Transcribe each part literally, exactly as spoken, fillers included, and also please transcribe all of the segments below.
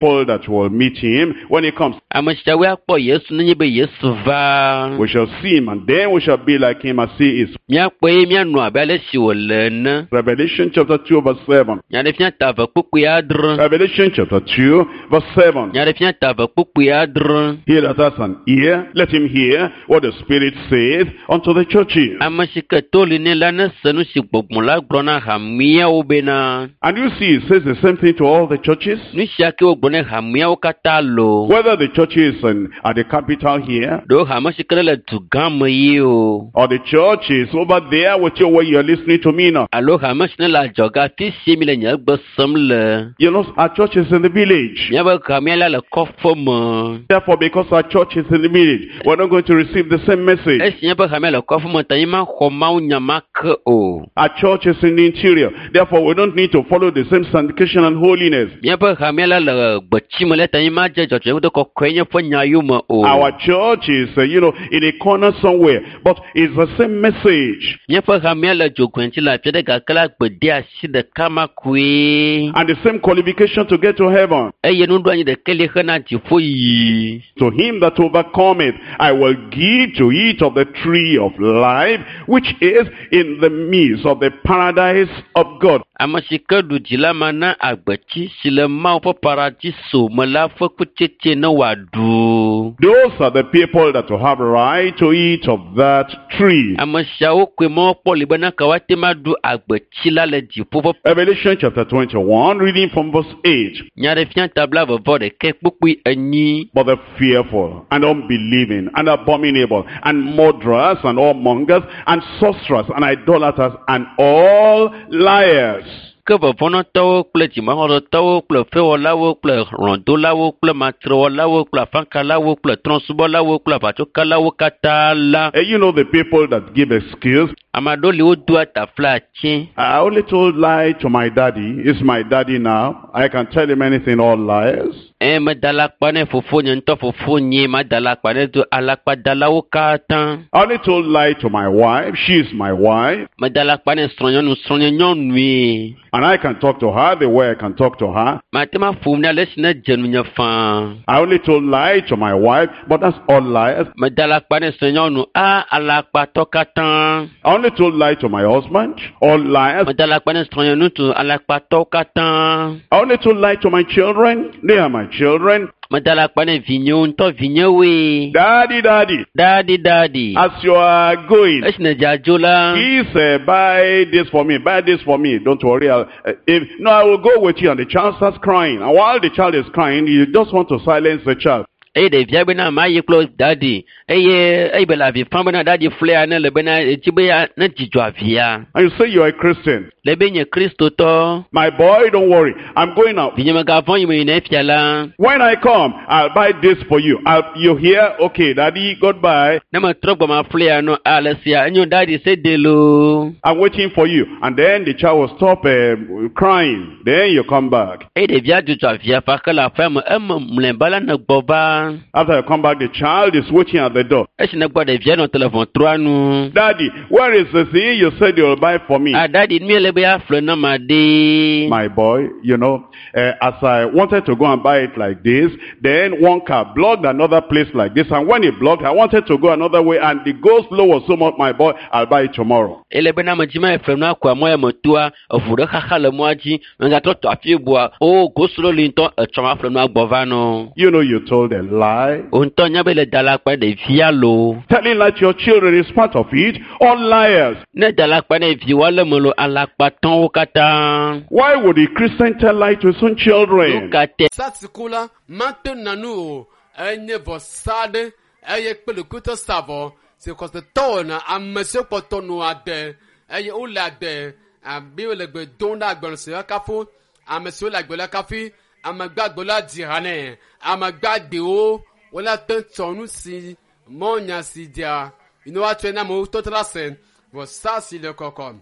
People that will meet him when he comes. Ame siawoe akpɔ Yesu nenye be Yesu va. We shall see him, and then we shall be like him as he is. Míakpɔe eye míanɔ abe ale si wòle ene. Revelation chapter two, verse seven. Nyaɖeɖefia ta eve kpukpui adre. Revelation chapter two, verse seven. Nyaɖeɖefia ta eve kpukpui adre. He that has an ear, let him hear what the Spirit saith unto the churches. Ame si ke to li nɛ la nese nu si gbɔgbɔ la gblɔ na hameawo bena. And you see, it says the same thing to all the churches. Nu sia ke wogblɔ ne hameawo katã lo. Whether the church is in, at the capital here, Ɖewo hame si ke le du gã me ye o. or the church is over there with you where you're listening to me now. Alo hame si ne le adzɔge afi si mi le nye gbe sem le. You know, our church is in the village. Míaƒe hamea la le kɔƒe me. Therefore, because our church is in the village, we're not going to receive the same message. Esi míaƒe hamea le kɔƒe me ta mi maxɔ Mawu nya ma ke o. Our church is in the interior. Therefore, we don't need to follow the same sanctification and holiness. Míaƒe hamea la le gbetsi me le ta mi madze dzɔdzɔenye kple kɔkɔenye ƒe nya yome o. Our church is, uh, you know, in a corner somewhere, but it's the same message Míaƒe hamea le dzogoe ŋuti le afi aɖe gake la gbedeasi ɖeka ma koe. and the same qualification to get to heaven. Eye nuɖoanyi ɖeka li hena dziƒo yiyi. To him that overcometh, I will give to eat of the tree of life, which is in the midst of the paradise of God. Ame si ke ɖu dzi la mana agbetsi si le Mawu ƒe paradiso me la ƒe kutsetse ne wòaɖu. Those are the people that will have right to eat of that tree. Ame siawo koe mɔkpɔ li bena ke woate ŋu aɖu agbetsi la le dziƒo ƒe Revelation chapter twenty-one, reading from verse eight. Nyaɖeɖefia ta blaeve vɔ ɖekɛ kpukpui enyi. But the fearful and unbelieving and abominable and murderers and whoremongers and sorcerers and idolaters and all liars. Ke vɔvɔ̃nɔtɔwo kple dzimaxɔsetɔwo kple fewɔlawo kple hlɔ̃dolawo kple matrewɔlawo kple afakalawo kple trɔ̃subɔlawo kple aʋatsokalawo katã la. Eh, you know the people that give excuse. Ame aɖewo li wodoa taflatse. I only told lie to my daddy. He's my daddy now. I can tell him anything, all lies. Eye meda alakpa ne fofonye ŋutɔ fofonye mada alakpa ne do alakpadalawo katã. I only told lie to my wife. She's my wife. Meda alakpa ne srɔ̃nyɔnu srɔ̃nyenyɔnue. And I can talk to her the way I can talk to her. Mate ŋu aƒo nu ale si ne dze nunye faa. I only told lie to my wife, but that's all lies. Meda alakpa ne srɔ̃nyɔnu a alakpatɔ katã. I only told lie to my husband, all lies. Meda alakpa ne srɔ̃nyeŋutsu alakpatɔwo katã. I only told lie to my children. They are my children. Meda alakpa ne vinyewo ŋutɔ vinyewoe. Daddy, daddy, Daddy, daddy. as you are going, Esi nèdze adzo la. please uh, buy this for me, buy this for me. Don't worry. I'll, uh, if, no, I will go with you. And the child starts crying. And while the child is crying, you just want to silence the child. Eye ɖevia bena ma yi kple daddy eye eye be le avi fam bena daddy flea ne le bena etsi be ya ne dzidzɔ avia. And you say you are a Christian. Le be nye kristotɔ. My boy, don't worry. I'm going out. Vinye megavɔ̃ yi me yina efia la. When I come, I'll buy this for you. I'll, you hear? Okay, daddy, goodbye. Ne metrɔ gbɔ ma flea no ale sia enyo daddy se de loo. I'm waiting for you. And then the child will stop uh, crying. Then you come back. Eye ɖevia dzudzɔ avia fa ke le aƒea me eme mlɔeba la ne gbɔ va. After you come back, the child is waiting at the door. Esi ne gbɔ ɖevia nɔ te le ʋɔtrua nu. Daddy, where is the thing you said you'll buy for me? Ah daddy nu ye le be yeaƒle na ma ɖe. My boy, you know, uh, as I wanted to go and buy it like this, then one car blocked another place like this, and when it blocked, I wanted to go another way, and the go slow was so much, my boy, I'll buy it tomorrow. Ele bena me dzi ma yeƒle nua koa mɔ ya me toa eʋu ɖe xaxa le mɔa dzi megatrɔ tɔ afi bua o go slow li ŋutɔ etsɔ ma ƒle nua gbɔ va nɔ. You know, you told a lie. Wo ŋutɔ nya be le da alakpa ɖevia loo. Telling lie to your children is part of it. All liars. Ne da alakpa ne viwoa le me lo alakpatɔwo katã. Why would a Christian tell lie to his own Nu children? ka te Sasiku la mate na nu o enye vɔsa ɖe eye kple ɖokuitɔ sa vɔ si xɔsetɔ wɔna ame siwo kpɔtɔ nɔ ade eye wole ade abe wole gbe dom ɖe agbalẽ si kafu ame siwo le agbe la kafi ame gbagbe la dzi ha nɛ ame gbagbewo wole te tsɔ nu si mɔnya si dzia yi ne woatsɔe na amewo tɔtɔ la se vɔsa si le kɔkɔ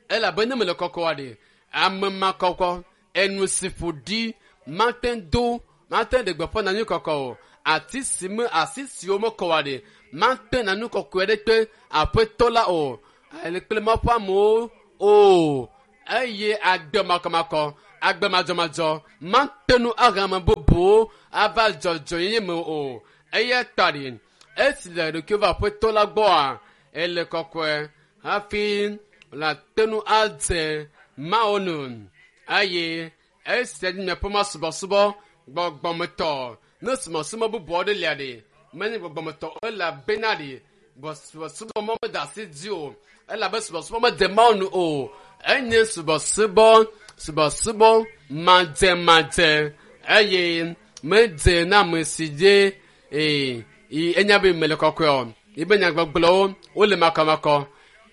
elabe ne mele kɔkɔa ɖe ame ma kɔkɔ enu si ƒo ɖi mate do mate ɖe gbeƒã na nu kɔkɔ o ati si me asi siwo mekɔ wa ɖe mate na nu kɔkɔe ɖe kpe aƒetɔ la o ele kple mawu ƒe amewo o eye agbe makɔmakɔ Agbe madzɔmadzɔ mate ŋu ahe ame bubuwo ava dzɔdzɔenyenye me o. Eya ta ɖi esi le ɖokuiwo va aƒetɔ la gbɔa ele kɔkɔe hafi wòate ŋu adze Mawu nu eye esia nye miaƒe masubɔsubɔ gbɔgbɔmetɔ. Ne subɔsubɔ bubu aɖe lia ɖi menye gbɔgbɔmetɔ o elabena ɖi subɔsubɔ mɔ mede asi dzi o elabe subɔsubɔ mede Mawu nu o. Enye subɔsubɔ subɔsubɔ madzemadze eye medze na ame si dze ee enya be mele kɔkɔe o. Yibe nyagbɔgblɔwo wole makɔmakɔ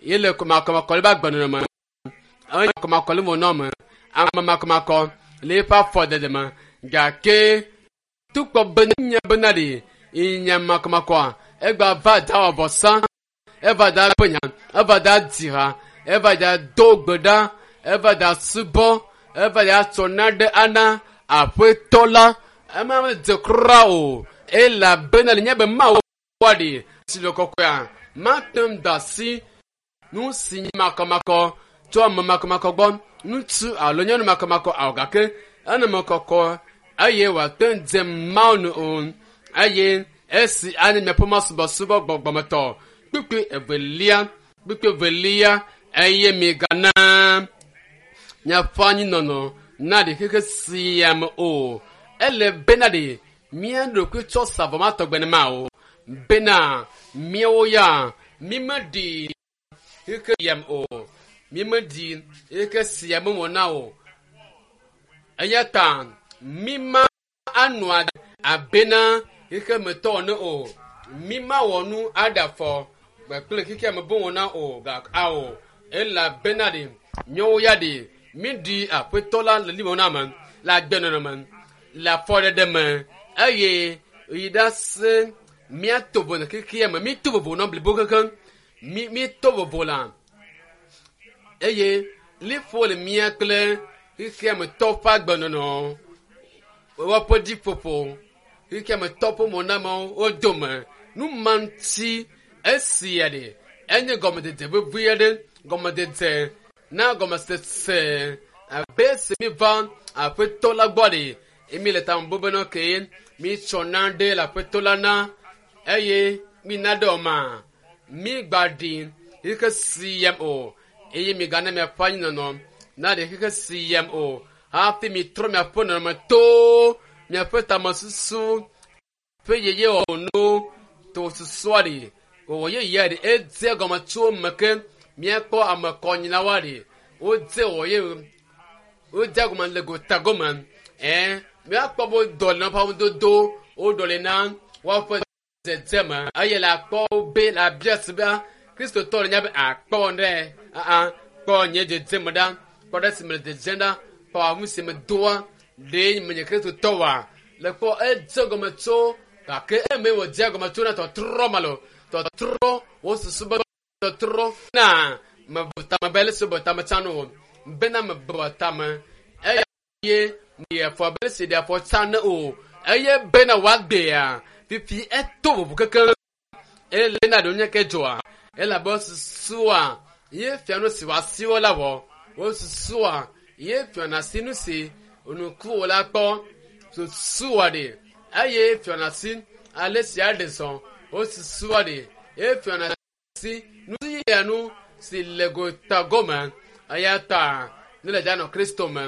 ye le makɔmakɔ le eƒe agbenɔnɔ me. Enye makɔmakɔ le mo me ame makɔmakɔ le eƒe afɔdede me gake tukpɔ be nye bena ɖi nye makɔmakɔa egba va da wɔ vɔsa eva da ƒe nya eva da dzi ha eva da do gbe ɖa eva da subɔ eva da tsɔ naɖe ana aƒetɔ la ema medze kura o elabena le nye be Mawu ɖi si le kɔkɔea mate ŋu da asi nu si nye makɔmakɔ tso ame makɔmakɔ gbɔ ŋutsu alo nyɔnu makɔmakɔ awo gake eneme kɔkɔ eye wòate ŋu dze Mawu nu o eye esi anye miaƒe masubɔsubɔ gbɔgbɔmetɔ kpukpui evelia kpukpui evelia eye migana miaƒe anyinɔnɔ na ɖi xexe sia me o. Ele bena ɖi mía ɖokui tsɔ sa vɔ ma tɔgbe ne ma o bena míawo ya mímeɖi xexe sia me o mímeɖi xexe sia me wɔna o. Eya ta míma anɔ abena xexemetɔ ene o. Míma wɔ nu aɖe afɔ kple xexeame be wɔna o gake ao elabena ɖi míawo ya ɖi míɖi aƒetɔ la le limɔna me le agbenɔnɔ me le afɔɖeɖe me eye yi ɖa se míato vovo le xexea me míto vovo nɔ blibo kekeŋ mí míto vovo la eye liƒo le mía kple xexeametɔ ƒe agbenɔnɔ woƒe ɖiƒoƒo xexeametɔ ƒe mɔnamewo wo dome nu ma ŋuti esia ɖi enye gɔmedede vevi aɖe gɔmedede na gɔmesese abe esi mi va aƒetɔ la gbɔ ɖi emi le tame bubuna be ke mi tsɔ na ɖe le aƒetɔ la na eye mi na ɖe ɔma mi gba ɖi xexe sia o eye mi gana miaƒe anyinɔnɔ na ɖe xexe sia o hafi mi trɔ miaƒe nɔnɔme to miaƒe tamesusu ƒe yeye wɔwɔ nu to susua ɖi wɔwɔ yeyea ɖi edze gɔme tso eme ke míakpɔ ame kɔnyilawoa ɖi wodze wɔwɔ ye wodze gɔme le gota gɔme ɛɛ míakpɔ be wodɔ le woƒe amedodo woɖɔ li na woaƒe dzedzeme eye le akpɔ be le abia si be kristotɔ le nya be akpɔ ɖe aa kpɔ nye dzedzeme ɖa kpɔ ɖe si me le dzedzem ɖa kpɔ awu si me doa ɖe menye kristotɔ wa le kpɔ edze gɔme tso gake eme wòdze gɔme tso na tɔtrɔ ma lo tɔtrɔ wo susu be tɔtrɔ na mebu tame be le si bu tame tsã no bena mebu tame eye ɖe afɔ be si ɖe afɔ tsã ne o eye bena wòagbea fifi eto vovo kekeŋ ele na ɖewo nye ke dzɔa elabe susua ye fia nu si wòasiwo la wɔ wo susua ye fiana si nu si nukuwo la kpɔ susua ɖe eye fiana si ale si aɖe zɔ wo susua ɖe ye fiana si nu sia nu si le gota gɔme eya ta ne le dzanɔ Kristo me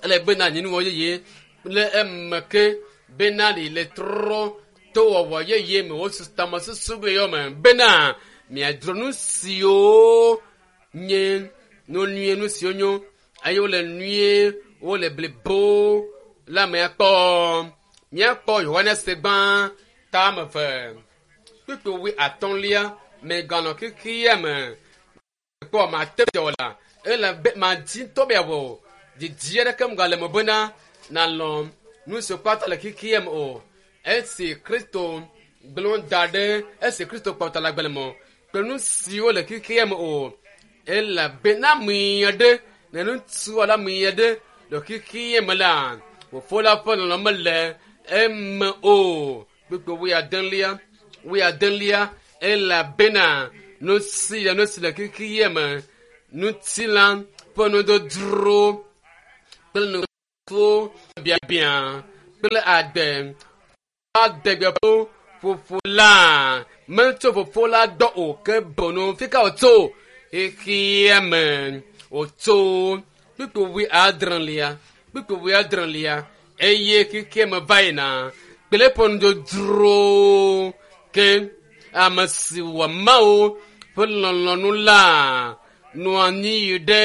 ele bena nyinuwɔ yeye le eme ke bena ɖi le trɔ to wɔwɔ yeye me wo tamesusu be yɔ me bena miadzro nu siwo nye nu nyuie nu siwo nyo eye wole nyuie wole blibo la miakpɔ miakpɔ Yohanes gbã tame eve kpukpui wui atɔ̃lia meganɔ xexea me kpɔ mate dɔ la elabe madi ŋutɔ be yeawɔ didi aɖeke megale me bena nàlɔ̃ nu siwo kpata le xexea me o. Esi Kristo gblɔ da ɖe esi Kristo kpɔtɔ le agbalẽ me kple nu siwo le xexea me o elabena ame aɖe ne ŋutsu alo ame aɖe le xexea me la fofo la ƒe lɔlɔ̃ mele eme o. Kpukpui wuiadelia wuiadelia elabena nu sia nu si le xexea me ŋutilã ƒe nudodro kple nukuwo biabia kple agbe adegbeƒo fofo la metso fofo la dɔ o ke bono fika wòtso xexea me wòtso kpukpu wui adrelia kpukpu wui adrelia eye xexea me va yina kple eƒe nudzodzro ke ame si wɔ Mawu ƒe lɔlɔ̃nu la nɔ anyi yi ɖe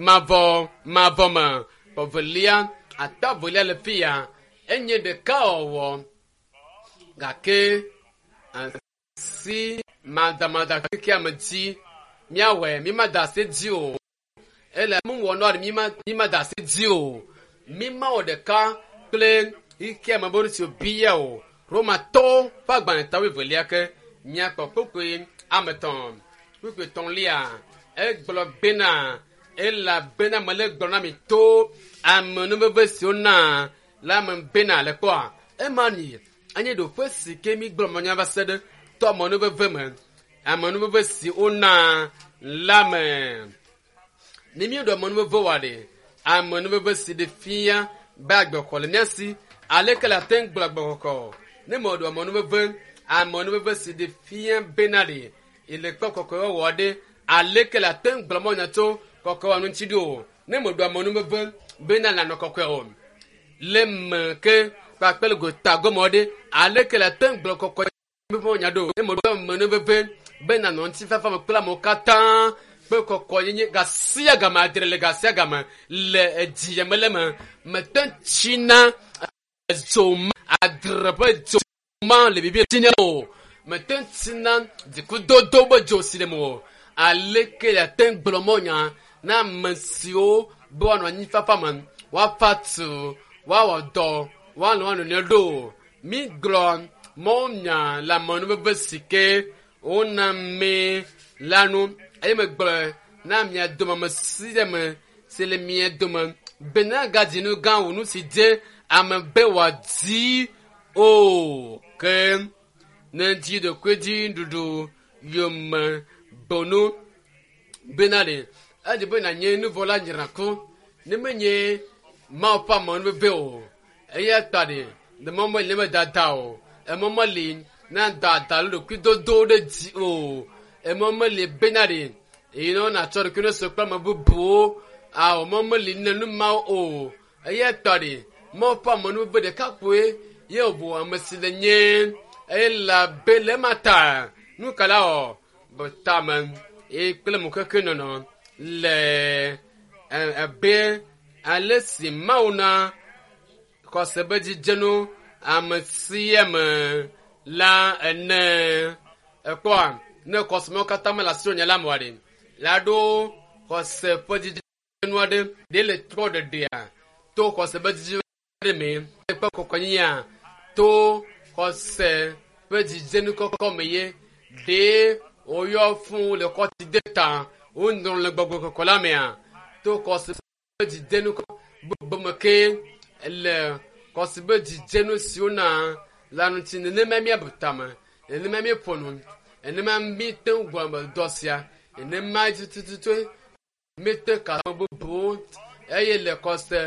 mavɔ mavɔ me. Evelia ata evelia le fi ya enye ɖekawɔwɔ gake asi madamada xexea me dzi míawɔe mímada asi dzi o ele mu wɔ nua ɖe mímada asi dzi o mímawɔ ɖeka kple xexea me be nu si wòbia o. Romatɔwo ƒe agbalẽ ta wuievelia ke míakpɔ kpukpui ame etɔ̃ kpukpui etɔ̃lia egblɔ bena elabena mele gblɔ na mi to amenuveve siwo na la me bena le kpɔa ema ni enye ɖoƒe si ke mi gblɔ manya va se ɖe to amenuveve me amenuveve si wona la me ne mi ɖo amenuveve wa ɖe amenuveve si ɖe fia be agbexɔ le mía si aleke le ate ŋu gblɔ agbexɔxɔ ne me ɖo amenuveve amenuveve si ɖe fia bena ɖe ele kpɔ kɔkɔewɔwɔ ɖe aleke le ate ŋu gblɔ mɔnya tso kɔkɔewɔ ŋuti ɖo o ne me ɖo amenuveve bena le anɔ kɔkɔe o le me ke kpakple le gota gɔme ɖe aleke le ate ŋu gblɔ kɔkɔe nya ɖo ne me ɖo amenuveve bena nɔ ŋutifafa me kple amewo katã kple kɔkɔenyenye gasia game adre le gasia game le edzi me le me mete tsina dzo ma adre ƒe dzo ma le bibi tsina o mete tsina dzikudodo be dzo si le me o aleke le ate ŋu gblɔ mɔnya na ame siwo be woanɔ anyifafa me woafa tu woawɔ dɔ woanɔ woanɔ nɔewo ɖo mi gblɔ mɔnya le amenuveve si ke wona mi la nu eye megblɔ na mia dome ame sia ame si le mia dome bena gadzi nu gã wò nu si dze ame be wòadi o ke ne dzi ɖokui dzi ɖuɖu yome bonu bena ɖe edzi be nànye nuvɔla nyrako ne menye Mawu ƒe amenuveve o eya ta ɖe ne mɔ meli ne medada o emɔ meli na dada alo ɖokuidodo ɖe dzi o emɔ meli bena ɖe eye ne wonatsɔ ɖokui ne sɔ kple ame bubuwo awɔ mɔ meli ne nu mawo o eya ta ɖe Mawu ƒe amenuveve ɖeka koe ye wòbu ame si le nye elabe le ema ta nu ka la wɔ tame eye kple mokeke nɔnɔ le abe ale si Mawu na xɔse be dzidzenu ame sia ame la ene ekpɔa ne xɔse mawo katã mele asiwò nye la me oa ɖe la ɖo xɔse ƒe dzidzenu aɖe ɖe le trɔ ɖeɖea to xɔse ƒe dzidzenu aɖe me kple kɔkɔnyenyea to xɔse ƒe dzidzenu kɔkɔ me ye ɖe woyɔ fún le kɔti de ta wonɔ le gbɔgbɔ kɔkɔ la mea to xɔse ƒe dzidzenu gbogbo me ke le xɔse ƒe dzidzenu siwo na la ŋuti nenema míabu tame nenema míeƒo nu nenema míete ŋu gblɔ dɔ sia nenema tututu míete ka ame bubuwo eye le xɔse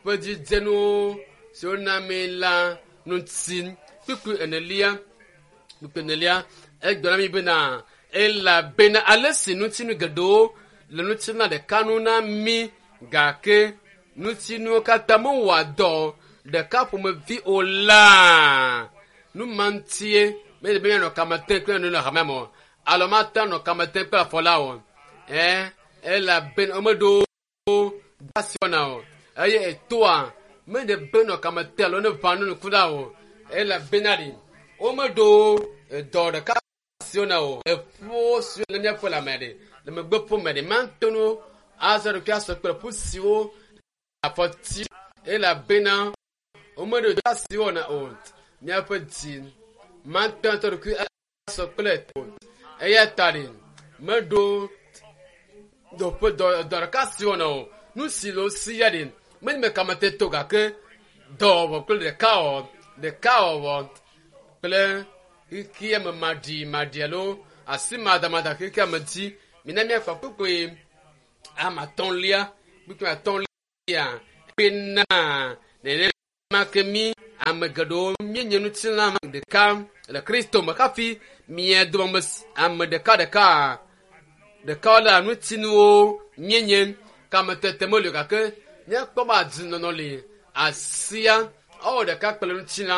ƒe dzidzenuwo siwo na mí la ŋuti kpukpui enelia kpukpui enelia egblɔ na mí bena elabena ale si ŋutinu geɖewo le ŋutilã ɖeka nu na mí gake ŋutinuwo katã mewɔa dɔ ɖeka ƒomevi o la nu ma ŋutie mele be míanɔ kame tem kple nu le hame me o alo mate anɔ kame tem kple afɔ la o ɛ elabena womeɖo asi wɔna o eye etoa mele be nɔ kame tem alo ne ʋã nu nuku la o elabena ɖi womeɖo dɔ ɖeka si wɔna o eƒuwo siwo le míaƒe lãme ɖe le megbe ƒome ɖe mate ŋu azɔ ɖokui asɔ kple ƒu siwo afɔti elabena womeɖo dɔ asi wɔna o míaƒe dzi mate ŋu atɔ ɖokui asɔ kple o eya ta ɖe meɖo dɔƒe dɔ dɔ ɖeka si wɔna o nu si le wo si ya ɖe menye me kamete to gake dɔwɔwɔ kple ɖekawɔwɔ ɖekawɔwɔ kple xexea me maɖi maɖi alo asi madamada xexea me dzi mina míakpa kpukpui ame atɔ̃lia kpukpui atɔ̃lia Bena nenema ke mi ame geɖewo míenye ŋutilã ɖeka le Kristo me hafi mia dome ame ɖeka ɖeka ɖeka le ŋutinuwo míenye kametete meli o gake míakpɔ be adunɔnɔ li asia ewɔ ɖeka kple ŋutilã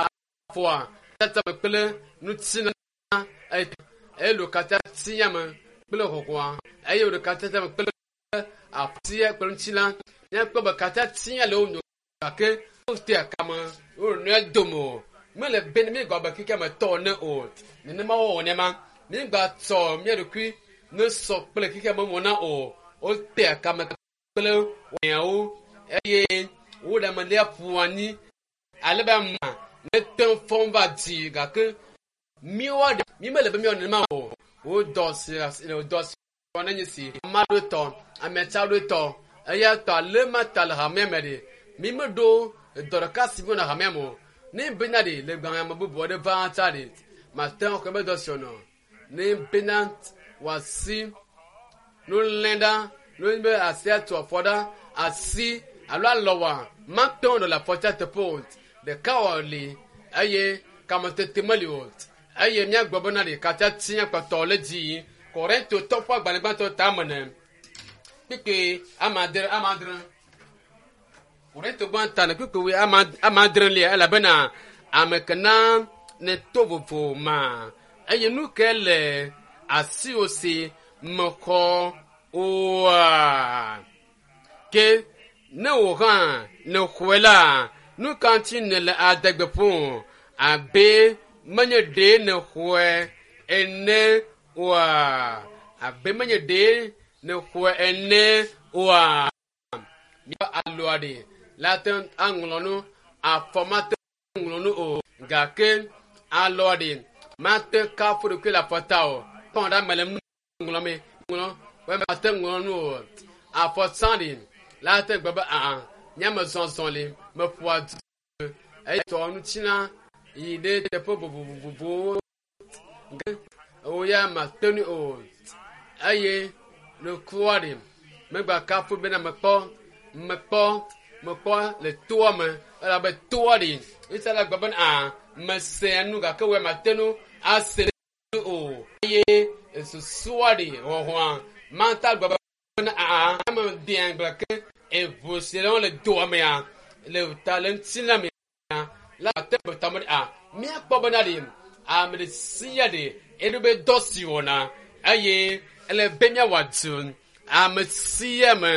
afɔa tata me kple ŋutilã eye ɖeka tia me kple xɔxɔa eye ɖeka tata me kple atia kple ŋutilã míakpɔ be katã tia le wo nɔ gake wotea kame wo nɔe dome o mele be ne míegba be keke me tɔ ne o nenema wɔwɔ nema míegba tsɔ mía ɖokui ne sɔ kple keke me wɔna o wotea kame kple wɔnyawo eye wo ɖe ame lia ƒu anyi ale be ama ne te fɔm va dzi gake míwoa ɖe mí mele be míawɔ nenema o wo dɔ si dɔ si wɔ ne nye si ame aɖewo tɔ ame tsa aɖewo tɔ eya tɔ ale ma ta le hamea me ɖe mí meɖo dɔ ɖeka si mi wɔna hamea me o ne bena ɖe le gbãme ame bubu aɖe va tsa ɖe mate ŋu xɔ be dɔ si wɔnɔ ne bena wòasi nu lẽ ɖa nu be asi atu afɔ ɖa asi alo alɔwa mate ŋu le afɔtia teƒe o ɖeka wɔ li eye kametete meli o eye míagblɔ bena ɖe katã tia kpɔtɔ le dzi Korinto tɔ ƒe agbalẽ gbãtɔ tame ne kpekpe ame adre ame adre Korinto gbãtɔ ne kpekpe ame adre lia elabena ame ke na ne to vovo ma eye nu ke le asiwò si mexɔ oa ke ne wò hã ne xɔe la nu ka ŋuti nèle adegbe ƒom abe menye ɖe nèxɔe ene oa abe menye ɖe nèxɔe ene oa míaƒe alɔa ɖe la te ŋu aŋlɔ nu afɔ mate ŋu ŋlɔ nu o gake alɔa ɖe mate kafu ɖokui le afɔta o kpɔn ɖe ame le nu ŋlɔm ŋlɔ wɔ mate ŋlɔ nu o afɔ tsã ɖe la te gbe be aa nye me zɔzɔ li meƒoa du eye tɔ ŋutina yi ɖe teƒe vovovovowo ge wo ya mate ŋui o eye nukua ɖe megba kafu bena mekpɔ mekpɔ mekpɔ le toa me elabe toa ɖe ŋutia la gbe bena aa mesea nu gake wo ya mate ŋu ase nu o eye susua ɖe xɔxɔa mata gbe bena aa ame dea gblɔ ke eʋu si le le doa mea le ta le ŋutilã mea la te gbe tame ɖe a míakpɔ bena ɖe ame ɖe sia ɖe eɖo be dɔ si wɔna eye ele be míawɔ adu ame sia ame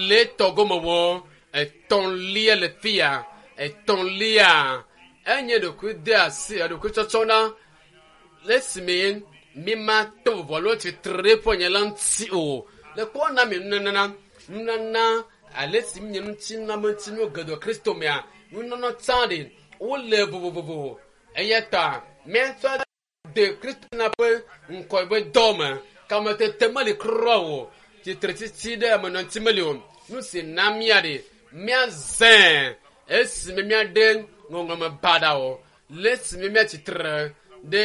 le tɔgɔme wɔ etɔ̃lia le fia etɔ̃lia enye ɖokui de asi ɖokui tsɔtsɔ na le esime mi ma to vovo alo tsitre ɖe ƒe nye la ŋuti o le kpɔ na mi nunana nunana ale si mi nye ŋuti na me ŋuti nu geɖe Kristo mea nunana tsã ɖe wole vovovovo eya ta míatsɔ de Kristo na ƒe ŋkɔ ƒe dɔ me kametete meli kura o tsitretsitsi ɖe ame nɔ ŋuti meli o nu si na mía ɖe míazẽ esime míaɖe ŋɔŋlɔme baɖa o le esime míatsitre ɖe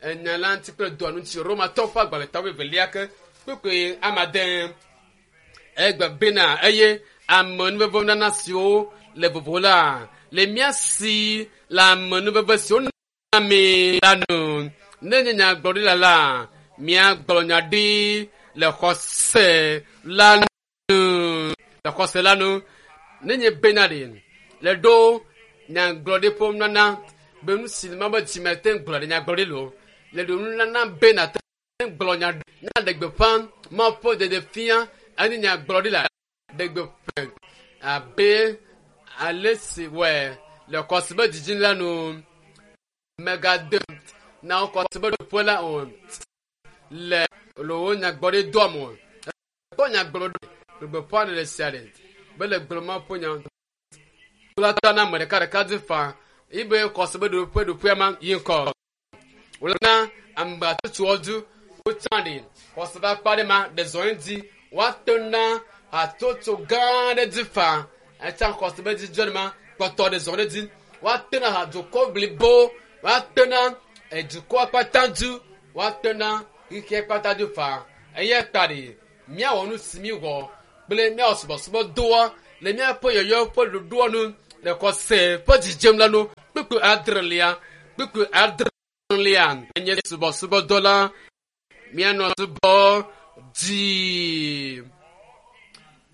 enya la ŋuti kple dɔa ŋuti Romatɔ ƒe agbalẽ ta wuievelia ke kpekpe ame ade egbe bena eye amenuveve nana siwo le vovo la le mía si le amenuveve siwo na mi la nu ne nye nyagblɔɖila la míagblɔ nya ɖi le xɔse la nu le xɔse la nu ne nye bena ɖe le ɖo nyagblɔɖi ƒe nunana be nu si ma be dzime te gblɔ ɖe nyagblɔɖi lo le ɖo nunana bena te gblɔ nya nya ɖe gbeƒã Mawu ƒe ɖeɖe fia enye nyagblɔɖi la ɖe gbeƒã abe ale si wɔe le xɔse be dzidzi la nu megade na wo xɔse be ɖoƒe la o le le wo nyagblɔɖi doa me o kpɔ nyagblɔɖi le gbeƒã ɖe sia ɖe be le gblɔ Mawu ƒe nya la ta na ame ɖeka ɖeka dzi faa ibe xɔse be ɖoƒe ɖoƒea ma yi ŋkɔ wòle na ame hatsotsowo du wotsã ɖe xɔse ƒe akpa ɖe ma ɖe zɔ dzi woate na hatsotso gã aɖe dzi faa etsã xɔse be dzidzɔ ɖe ma kpɔtɔ ɖe zɔ ɖe dzi woate na hadukɔ blibo woate na edukɔ kpata du woate na xixia kpata du faa eya ta ɖe míawɔ nu si mi wɔ kple míawɔ subɔsubɔ doa Le míaƒe yɔyɔ ƒe ɖoɖoa nu le xɔse ƒe dzidzem la nu kpukpui adrelia kpukpui adrelia enye subɔsubɔdɔ la míanɔ subɔ dzi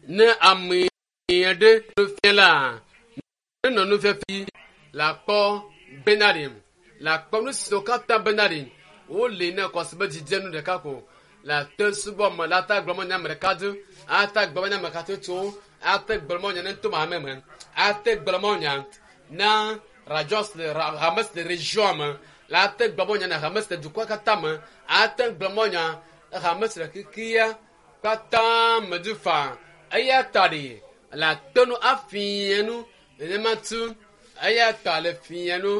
ne ame aɖe nufia la nenɔ nufiafia la kpɔ bena ɖe la kpɔ nu siwo katã bena ɖe wole ne xɔse ƒe dzidzenu ɖeka ko la te subɔ me la ta gblɔ me nya ame ɖeka do ata gblɔ me nya ame hatsotsowo ate gblɔ me nya ne to hame me ate gblɔ me nya na radios le hame si le region me la ate gblɔ me nya na hame si le dukɔa katã me ate gblɔ me nya hame si le xexea katã me du fa eya ta ɖe la te nu afia nu nenema tu eya ta le fia nu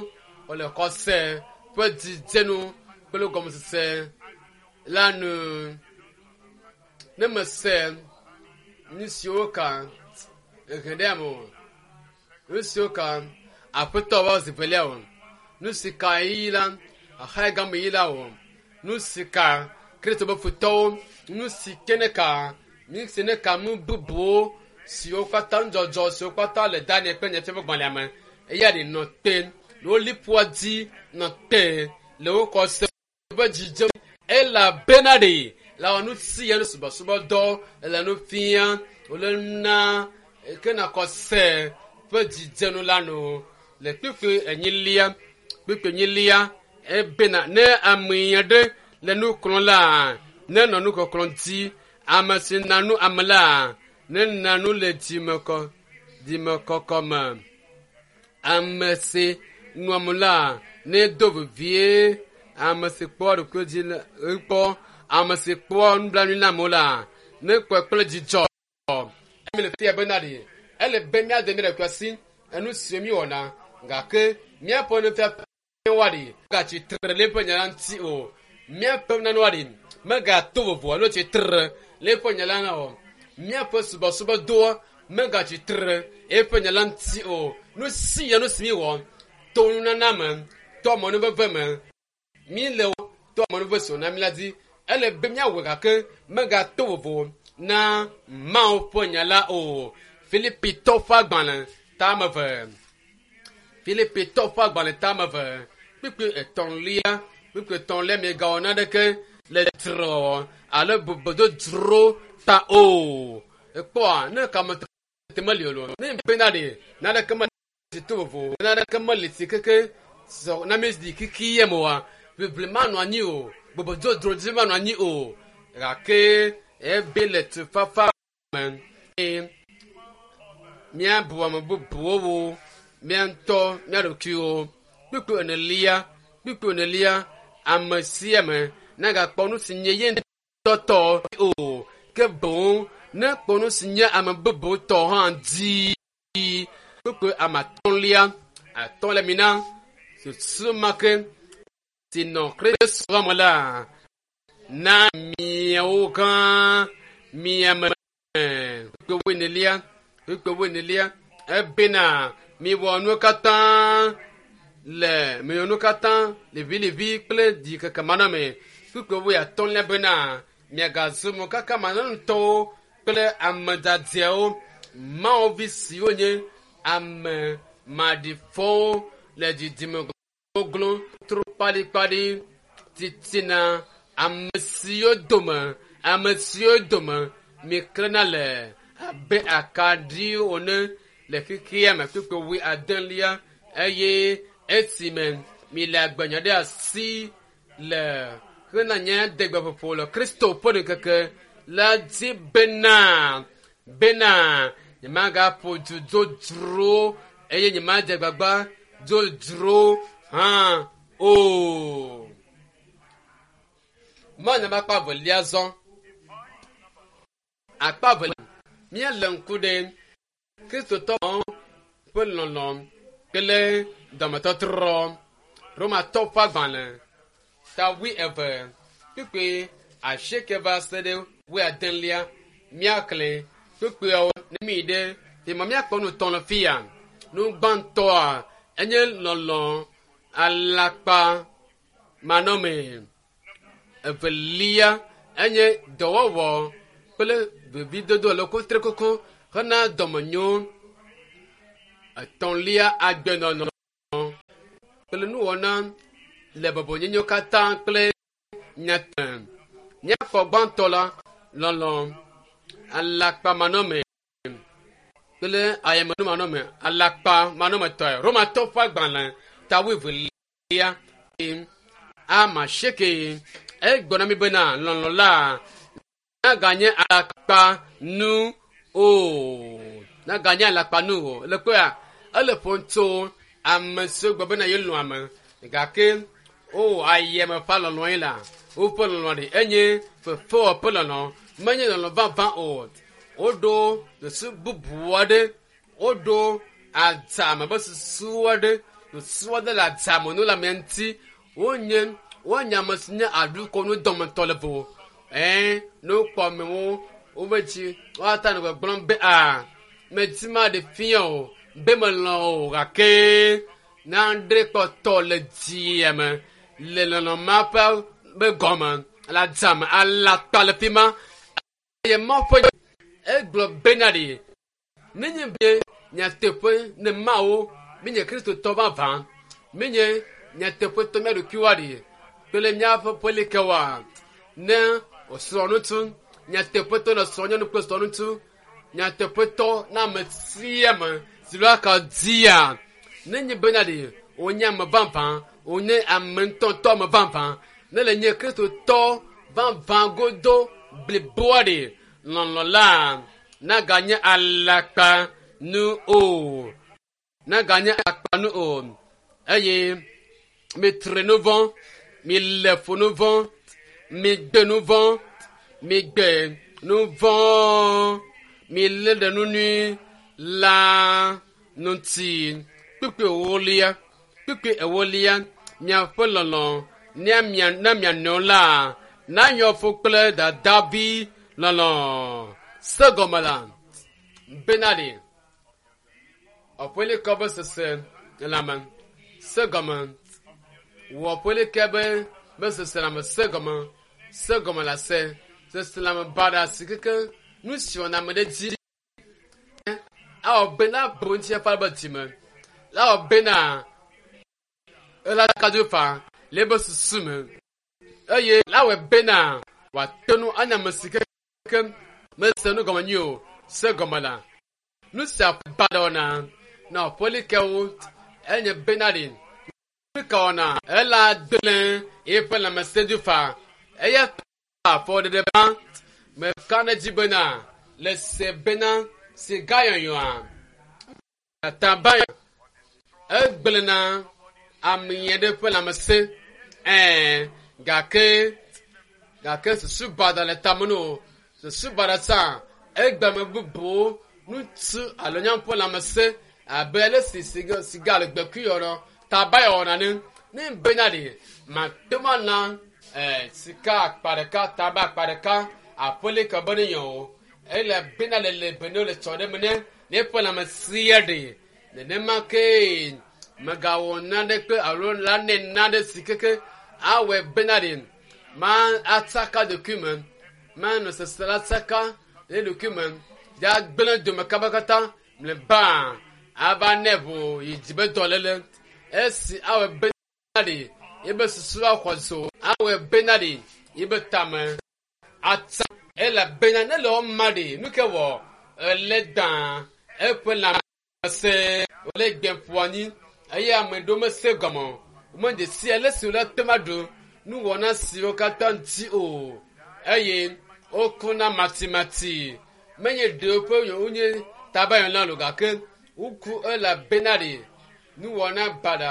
wòle xɔse ƒe dzidzenu kple gɔmesese la nu ne mese nu siwo ka ehe ɖe ame o nu siwo ka aƒetɔ va zi velia o nu si ka yi la axae game yi la o nu si ka kristo be futɔwo nu si ke ne ka nu si ne ka nu bubuwo siwo katã nudzɔdzɔ siwo katã le Daniel kple Nyafiaƒe gbalẽa me eya ɖe nɔ te le wo liƒoa dzi nɔ te le wo xɔse ƒe dzidzem elabena ɖe la wɔ nu si ya nu subɔsubɔdɔ le nu fia wòle na ke na xɔse ƒe dzidzenu la nu le kpukpui enyilia kpukpui enyilia ebena ne ame aɖe le nu kplɔm la ne nɔ nu kɔklɔ dzi ame si na nu ame la ne na nu le dzimekɔ dzimekɔkɔ me ame si nu ame la ne do vevie ame si kpɔ ɖokui dzi la kpɔ ame si kpɔ nublanui na amewo la ne kpɔe kple dzidzɔ emi le fia bena ɖe ele be míade mía ɖokui asi enu siwo míwɔna gake míaƒe nufiafia wa ɖi megatsi tre le eƒe nya la ŋuti o míaƒe nane wa ɖi megato vovo alo tsi tre le eƒe nya la ŋu o míaƒe subɔsubɔdɔa megatsi tre eƒe nya la ŋuti o nu si ya nu si míwɔ to nunana me to amenuveve me mi le to amenuveve si wòna mi la dzi ele be míawɔe gake megato vovo na Mawu ƒe nya la o Filipitɔwo ƒe agbalẽ tame eve Filipitɔwo ƒe agbalẽ tame eve kpukpui etɔ̃lia kpukpui etɔ̃lia miegawɔ naneke le dzrewɔwɔ alo bobododzro ta o ekpɔa ne kametete meli o ne bena ɖe naneke meli to vovo naneke meli si keke sɔ na mi di kiki yɛ me oa ʋiʋli manɔ anyi o bobododzro dzi manɔ anyi o gake ebe le tufafa me eye míabu ame bubuwo wo mía ŋutɔ mía ɖokuiwo kpukpui enelia kpukpui enelia ame sia ame nagakpɔ nu si nye ye ŋutɔ tɔ o ke boŋ ne kpɔ nu si nye ame bubu tɔ hã dzi kpukpui ame atɔ̃lia atɔ̃ le mi na susu ma ke si nɔ Kristo me la na miawo gã miame kpukpui wuienelia kpukpui wuienelia ebena miwɔ nuwo katã le miwɔ nuwo katã liʋiliʋi kple dzikeke manɔme kpukpui wuiatɔ̃lia bena miagazu mokaka manɔŋutɔwo kple ame dzadzɛwo Mawu vi siwo nye ame maɖifɔwo le dzidzime goglo tro kpaɖikpaɖi titina ame siwo dome ame siwo dome miklẽna le abe akaɖiwo ene le xexea me kpukpui wuiadelia eye esime mile agbenya ɖe asi le hena nye degbeƒoƒo le Kristo ƒe ŋkeke la dzi bena bena nyemagaƒo du dzodzro eye nyemadze agbagba dzodzro hã o. Manya be akpa evelia zɔ. Akpa evelia míele ŋku ɖe Kristotɔwo ƒe lɔlɔ̃ kple dɔmetɔtrɔ. Romatɔwo ƒe agbalẽ ta wuieve kpukpui asieke va se ɖe wuiadelia míaxlẽ kpukpuiawo ne míyi ɖe fima míakpɔ nu tɔ̃ le fia. Nu gbãtɔa enye lɔlɔ̃ alakpa manɔmee. Evelia enye dɔwɔwɔ kple vevidodo alo kutrikuku. Hena dɔmenyo. Etɔ̃lia agbenɔnɔ kple nuwɔna le bɔbɔnyenyewo katã kple nyate. Míakpɔ gbãtɔ la lɔlɔ alakpamanɔme kple ayemenumanɔme alakpamanɔmetɔe. Romatɔwo ƒe agbalẽ ta wuievelia ama asieke egblɔ na mi bena lɔlɔ la naganye alakpa nu o naganye alakpa nu o le kpɔa ele ƒom tso ame siwo gblɔ bena yelɔ̃ ame gake o ayeme ƒe lɔlɔ ye la woƒe lɔlɔ ɖe enye fefewɔƒe lɔlɔ menye lɔlɔ vavã o woɖo susu bubu aɖe woɖo adzame be susu aɖe susu aɖe le adzame nu le amea ŋuti wonye wonye ame si nye aɖukɔnu dɔmetɔ le vo ɛɛ ne wokpɔ amewo wobe dzi woata nɔ gbɔgblɔm be a medi ma ɖe fia o be melɔ̃ o gake nane kpɔtɔ le dzia me le lɔlɔ ma ƒe be gɔme le adzame alakpa le fi ma eye Mawu ƒe egblɔ bena ɖe nenye be nyateƒe ne Mawu menye Kristotɔ vavã menye nyateƒetɔ mía ɖokuiwoa ɖe kple míaƒe ƒelikewoa ne wòsrɔ̃ ŋutsu nyateƒetɔ ne srɔ̃ nyɔnu kple srɔ̃ ŋutsu nyateƒetɔ na ame sia ame si lo aka dzia nenye bena ɖe wònye ame vavã wònye ame ŋutɔŋutɔ ame vavã ne le nye Kristotɔ vavã godo bliboa ɖe lɔlɔ la naganye alakpa nu o naganye alakpa nu o eye mitre nu vɔ̃ mile fu nu vɔ̃ migbe nu vɔ̃ migbe nu vɔ̃ milé ɖe nu nyui la ŋuti kpukpui ewolia kpukpui ewolia miaƒe lɔlɔ na mia na mia nɔewo la nayɔ fu kple dadavi lɔlɔ se gɔme la bena ɖe aƒelikɔ be sese lãme se gɔme wɔ aƒelikɛ be be sese lãme se gɔme se gɔme la se sese lãme baɖa si keke nu si wɔna ame ɖe dzi awɔ bena bu ŋuti eƒe be dzime awɔ bena ela kadzo fa le ebe susu me eye lawɔe bena wòate ŋu anya ame si keke mese nu gɔme nyuie o se gɔme la nu sia baɖa wɔna na aƒelikewo enye bena ɖe nu ka wɔna ela gblẽ eƒe lãmesẽ fa eya ta afɔ ɖeɖe ba meka ɖe edzi bena le se bena siga yɔyɔa taba egblẽna ame aɖe ƒe lãmesẽ ɛɛ gake gake susu baɖa le tame no susu baɖa tsã egbe ame bubuwo ŋutsu alo nyɔnu ƒe lãmesẽ abe ale si siga siga le gbekui yɔnɔ taba yɔna ne ne bena ɖe mate ŋu ana ɛɛ sika akpa ɖeka taba akpa ɖeka aƒelika be ne yɔ o ele bena le le bene le tsɔ ɖe me ne ne eƒe lãmesẽa ɖe nenema ke megawɔ naneke alo la ne nane si keke awɔe bena ɖe ma atsaka ɖokui me manɔ sese la tsaka ɖe ɖokui me ya gblẽ dome kabakata mlɔeba ava nɛ ʋu yi dzi be dɔléle esi awɔe bena ɖe yebe susu axɔ zo awɔe bena ɖe yebe tame atsa elabena ne le wɔma ɖe nu ke wɔ ele dã eƒe lãmesẽ wòle gbe ƒo anyi eye ame ɖewo mese gɔme o womedze si ale si wòle te ma ɖu nuwɔna siwo katã ŋuti o eye wokuna matimati menye ɖewo ƒe wonye tabayɔna lo gake woku elabena ɖe nuwɔna baɖa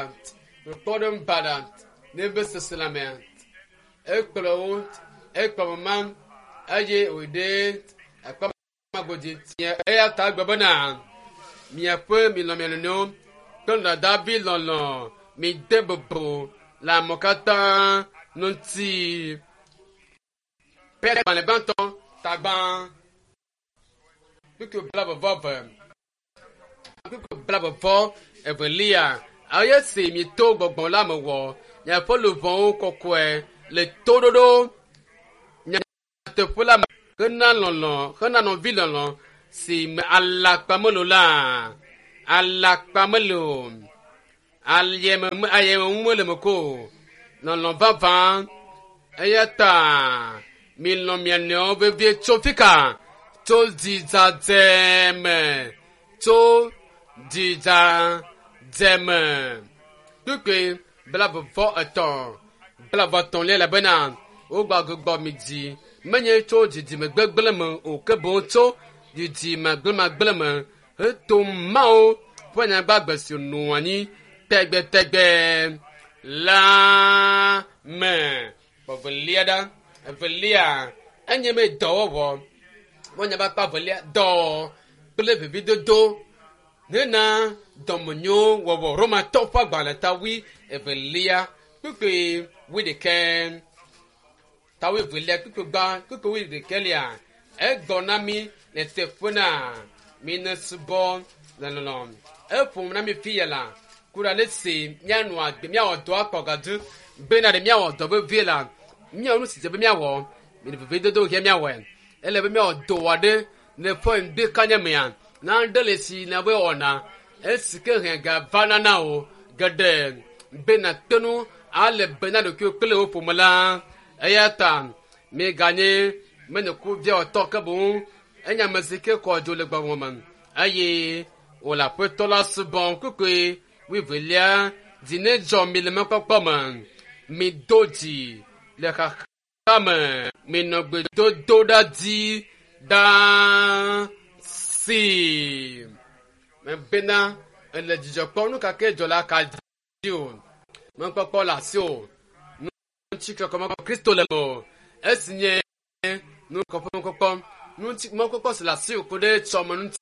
kpɔɖeŋu baɖa ne be seselãmea ekplɔ wo ekplɔ ma eye wòɖe akpamagodzi tia eya ta gbe bena miaƒe milɔ mia nɔnɔewo kple dadavi lɔlɔ mide bubu le amewo katã ŋuti. Petro gbalẽ gbãtɔ tagbã kpukpui blaeve vɔ eve kpukpui blaeve vɔ evelia eye si mito gbɔgbɔ la me wɔ miaƒe luʋɔwo kɔkɔe le toɖoɖo nyateƒe la me hena lɔlɔ hena nɔvi lɔlɔ Si me alakpa melo la alakpa melo ayeme ayeme ŋu mele me ko lɔlɔ vavã eya ta mi lɔ̃ mia nɔewo vevie tso fika tso dzidzadze me tso dzidzadze me kpukpui blaeve etɔ̃ blaeve etɔ̃lia elabena wogbagbɔ mi dzi menye tso dzidzime gbegblẽ me o ke boŋ tso dzidzime gblẽmagblẽ me heto Mawu ƒe nyagbagbe si nɔ anyi tɛgbɛtɛgbɛ la me. Evelia ɖa evelia enye be dɔwɔwɔ wonya be akpa evelia dɔ kple vividodo hena dɔmenyo wɔwɔ Romatɔ ƒe agbalẽ ta wui evelia kpukpui wui ɖekɛ ta wui evelia kpukpui gbã kpukpui wui ɖekɛlia egbɔ na mi le teƒe na mi ne subɔ le lɔlɔ eƒom na mi fi ya la ku ɖe ale si míanɔ agbe míawɔ dɔ akpɔ gadu bena ɖe míawɔ dɔ vevie la míawɔ nu si dze be míawɔ mi le vevedodo he míawɔe ele be míawɔ dɔ aɖe le ƒe ŋdi kanya mea nane le si na be wɔna esi ke hẽ ga va nana o geɖe bena tenu ale bena ɖokuiwo kple wo ƒome la eya ta miganye menye kuviawɔtɔ ke boŋ enye ame si ke kɔ dzo le gbɔgbɔ me eye wòle aƒetɔ la subɔm kpukpui wuievelia dzi ne dzɔ mi le mɔkpɔkpɔ me mido dzi le xaxa me minɔ gbedodo ɖa dzi ɖaa si mebena ele dzidzɔ kpɔm nu ka ke dzɔ la ka dzi o mɔkpɔkpɔ le asi o ŋutikɔkɔ mɔkpɔkpɔ Kristo le o esi nye nukɔkɔ mɔkpɔkpɔ ŋuti mɔkpɔkpɔ si le asi o ku ɖe tsɔme ŋuti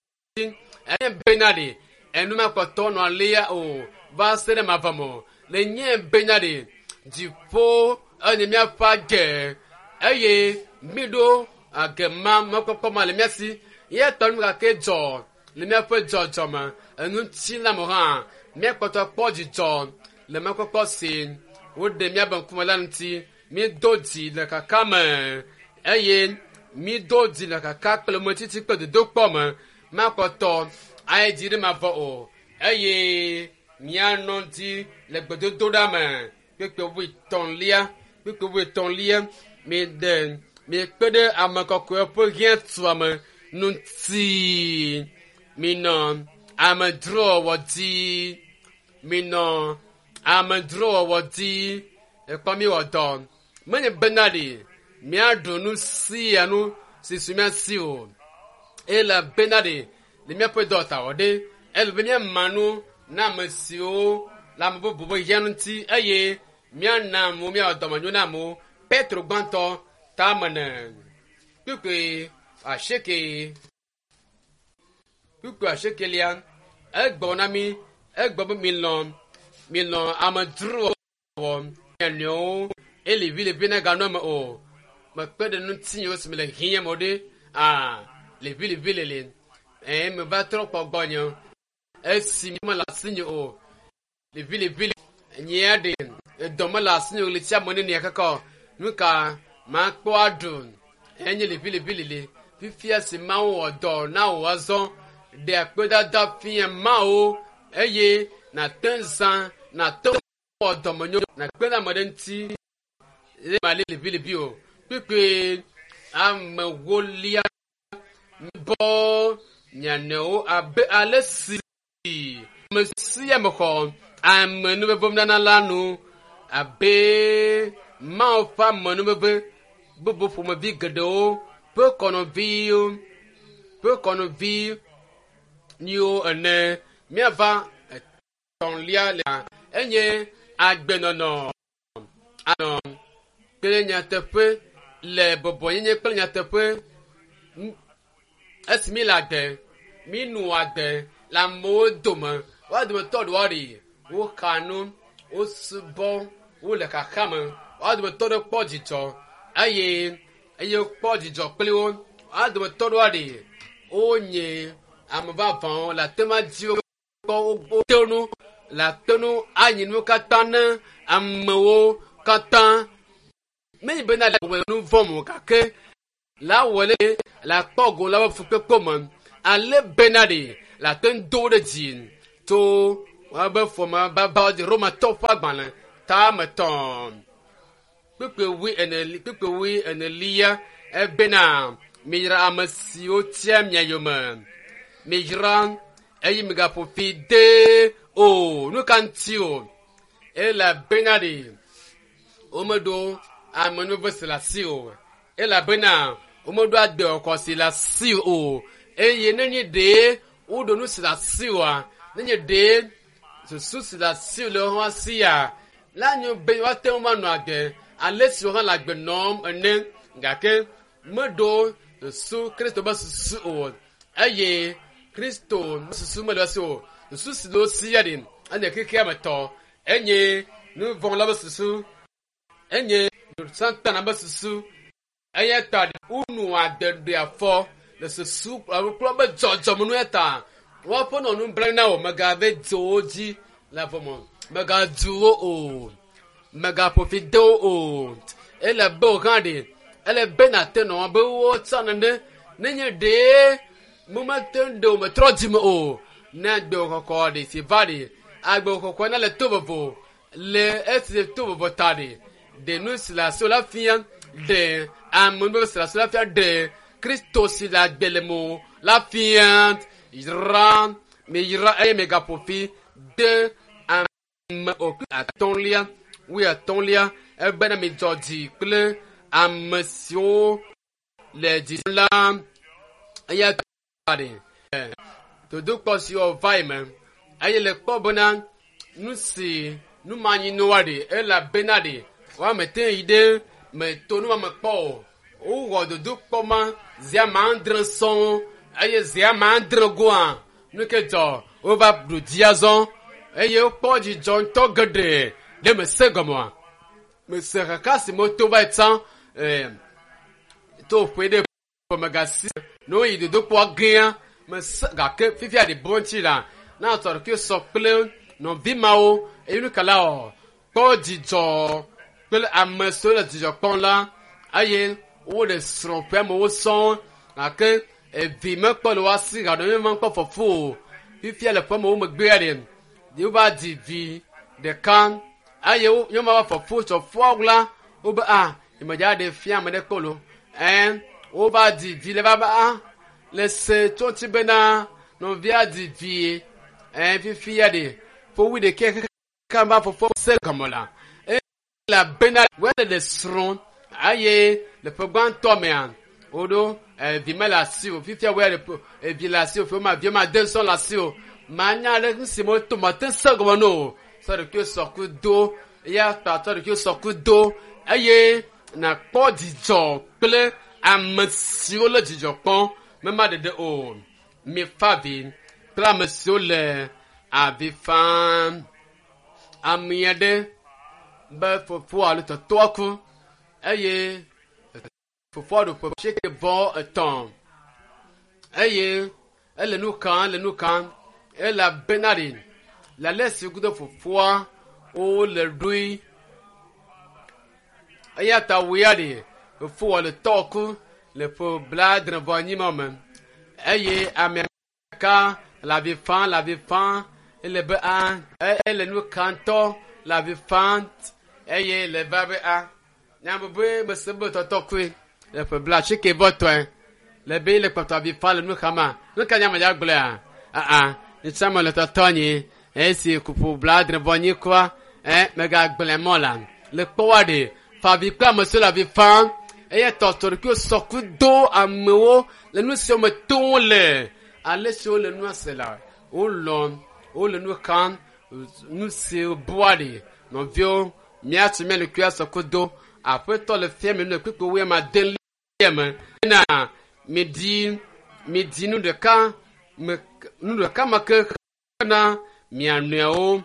enye bena ɖe enu makpɔtɔ nɔ alia o va se ɖe mavɔ me o le nye bena ɖe dziƒo enye míaƒe age eye mi ɖo age ma mɔkpɔkpɔ ma le mía si ye tɔ nu gake dzɔ le míaƒe dzɔdzɔme eŋuti la me hã míakpɔtɔ kpɔ dzidzɔ le mɔkpɔkpɔ si woɖe míabe ŋkume la ŋuti mído dzi le kaka me eye mído dzi le kaka kple metsitsi kple dodokpɔ me makpɔtɔ ayi dzi ɖe mavɔ o eye míanɔ dzi le gbedodoɖa me kpekpe wuietɔ̃lia kpekpe wuietɔ̃lia miɖe miekpe ɖe ame kɔkɔewo ƒe hiãtuame ŋuti minɔ amedzrowɔwɔ dzi minɔ amedzrowɔwɔ dzi ekpɔ mi wɔ dɔ menye bena ɖe míaɖu nu sia nu si su mía si o ele bena ɖe le míaƒe dɔ ta wɔ ɖe ele be míama nu na ame siwo le ame bubu ƒe hiã ŋuti eye míana amewo míawɔ dɔmenyo na amewo Petro gbãtɔ tame ne kpukpui asieke kpukpui asiekelia egbɔ na mi egbɔ be milɔ̃ milɔ̃ amedzrowɔwɔ mia nɔewo ele vi le na ganɔ me o mekpe ɖe ŋutinye si me le hiã me o ɖe aa levi levi le le ɛɛ me va trɔ kpɔ gbɔnye esi mele asinye o levi levi le nyea ɖe edɔ mele asinye o le tsia me nenia kaka nu ka makpɔ aɖu enye levi levi le le fifia si Mawu wɔ dɔ na wò azɔ ɖe akpedada fia Mawu eye nàte zã nàte wɔ dɔmenyo nàkpe ɖe ame ɖe ŋuti eye mali levi levi o kpekpe amewolia bɔ mianɔewo abe ale si ame sia ame xɔ amenuveve nana la nu abe Mawu ƒe amenuveve bubu ƒomevi geɖewo ƒe kɔnɔviwo ƒe kɔnɔvi yiwo ene míava etɔ̃lia le enye agbenɔnɔ anɔ kple nyateƒe le bɔbɔnyenye kple nyateƒe esi mi le agbe mi nu agbe le amewo dome woa dometɔ ɖewoa ɖi woxa nu wosubɔ wole xaxa me woa dometɔ ɖe kpɔ dzidzɔ eye eye wokpɔ dzidzɔ kpli wo woa dometɔ ɖewoa ɖi wonye ame vavãwo le ate ma dzi wo kpɔ wote nu le ate nu anyi nu katã ne amewo katã menye bena le wɔ nu vɔ̃m o gake la wɔ le le akpɔ go la ƒe fukpekpe me Ale bena ɖe le ate ŋu do ɖe dzi tso woabe fɔme baba dzi Romatɔ ƒe agbalẽ tametɔ kpekpe wui ene kpekpe wui enelia ebena miyra ame siwo tia mia yome miyra eye migaƒo fi de o nu ka ŋuti o elabena ɖe womeɖo amenuveve si le asi o elabena womeɖo agbexɔxɔ si le asi o eye nenye ɖe woɖo nu si le asi oa nenye ɖe susu si le asi le woƒe asia la nyo be woate ŋu anɔ agbe ale si wo hã le agbe nɔm ene gake meɖo susu kristo be susu o eye kristo be susu mele esi o susu si le wo si ya ɖi enye xexea me tɔ enye nu vɔ̃ la be susu enye satana be susu eya ta wonu ade ɖe afɔ le susu kple be dzɔdzɔmenu ya ta woaƒe nɔ nublanui na wo megave dze wo dzi le avɔme megadu wo o megaƒo fi de wo o ele be wo hã ɖe ele be nate nɔ be wo tsã nene nenye ɖee momete ŋu ɖe o metrɔ dzime o ne agbewɔ kɔkɔ ɖe si va ɖe agbewɔ kɔkɔ na le to vovo le esi to vovo ta ɖe ɖe nu si le asi la fia ɖe ame nu si le asi la fia ɖe kristo si le agbe le mo la fia yra mi yra eye megaƒo fi de ame o atɔ̃lia wui atɔ̃lia ebena mi dzɔ dzi kple ame siwo le dzi la eya ta ɖe dodokpɔ siwo va yi me eye le kpɔ bena nu si numanyinua ɖe elabena ɖe woame te yi ɖe meto nu ma me kpɔ o wowɔ dodokpɔ ma zi ame adre sɔŋ eye zi ame adre goa nu ke dzɔ wova ɖu dzi azɔ eye wokpɔ dzidzɔ ŋutɔ geɖe ɖe mese gɔmea mese xaxa si meto va yi tsã ɛɛ to ƒe ɖe ƒomegasi ne woyi dodokpɔa gea mese gake fifia ɖe bɔ ŋuti la na tɔ ɖokui sɔ kple nɔvi mawo eye nu kala o kpɔ dzidzɔ kple ame siwo le dzidzɔ kpɔm la eye wole srɔ̃ ƒe amewo sɔŋ gake evi mekpɔ le woasi gaɖo mi mekpɔ fɔfo o fifia le ƒe amewo megbea ɖe wova dzi vi ɖeka eye wo nyɔnua va fɔfo tsɔ foa la wobe a nyemedza ɖe fia ame ɖe kpɔ lo ɛn wova dzi vi le va be a le se tso ŋuti bena nɔvia dzi vi ɛn fifia ɖe ƒowu ɖeke kaka va fɔfo se gɔme la elabena wole le srɔ̃ eye le ƒe gbãtɔ mea woɖo evi mele asi o fifia woya le evi le asi o fi ma vi ma de sɔ le asi o manya ɖe nu si me to ma te se gɔme no sɔ ɖokui sɔku do eya ta sɔ ɖokui sɔku do eye nakpɔ dzidzɔ kple ame siwo le dzidzɔ kpɔm mema ɖeɖe o mifa vi kple ame siwo le avi fam ame aɖe be fofo alo tɔtɔa ku eye fofoa ɖo ƒe asieke vɔ etɔ̃ eye ele nu kam ele nu kam elabena ɖe le ale si kudo fofoa wole ɖoe eya ta woya ɖe fofoa le tɔ ku le ƒe blaadre vɔ anyi ma me eye ame ka le avi fam le avi fam ele be a ele nu kam tɔ le avi fam eye le va be a nyabe mese be tɔtɔ koe le ƒe bla asike vɔ tɔe le be le kpɔtɔ avi fa le nu xama nu ka nyame dza gblɔa aa nitsame le tɔtɔ nyi esi kuƒo bla adre vɔ nyi koa ɛ megagblẽ mɔ la le kpɔwa ɖe fa avi kple ame siwo le avi fam eye tɔtɔ ɖe sɔku do amewo le nu siwo me tom le ale siwo le nua se la wolɔ wole nu xam nu si bua ɖe nɔviwo míatsi mía ɖokui asɔku do aƒetɔ le fia mi nu le kpekpe wo ma de lia me na mi di mi di nu ɖeka me nu ɖeka ma ke na mia nɔewo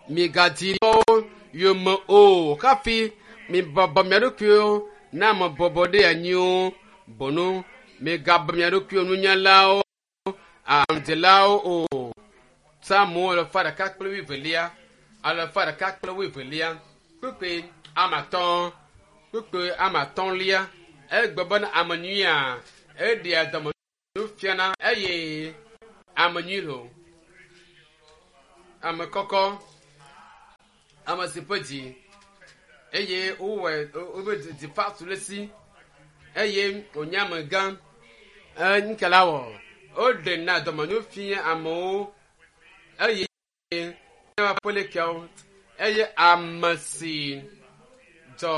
migadi tɔwo yome o hafi mibɔbɔ mia ɖokuiwo na ame bɔbɔ ɖe anyiwo bɔnu migabɔ mia ɖokuiwo nunyalawo aɖaŋudelawo o psalmo alafa ɖeka kple wuievelia alafa ɖeka kple wuievelia kpekpe ame atɔ̃ kpekpe ame atɔ̃lia egbe bena ame nyuia eɖea dɔme nu fiana eye ame nyui lo ame kɔkɔ ame si ƒe dzi eye wowɔe wobe dzi fa tu le si eye wònye ame gã eŋke la wɔ woɖe na dɔmenyo fia amewo eye aƒelekeawo eye ame si dzɔ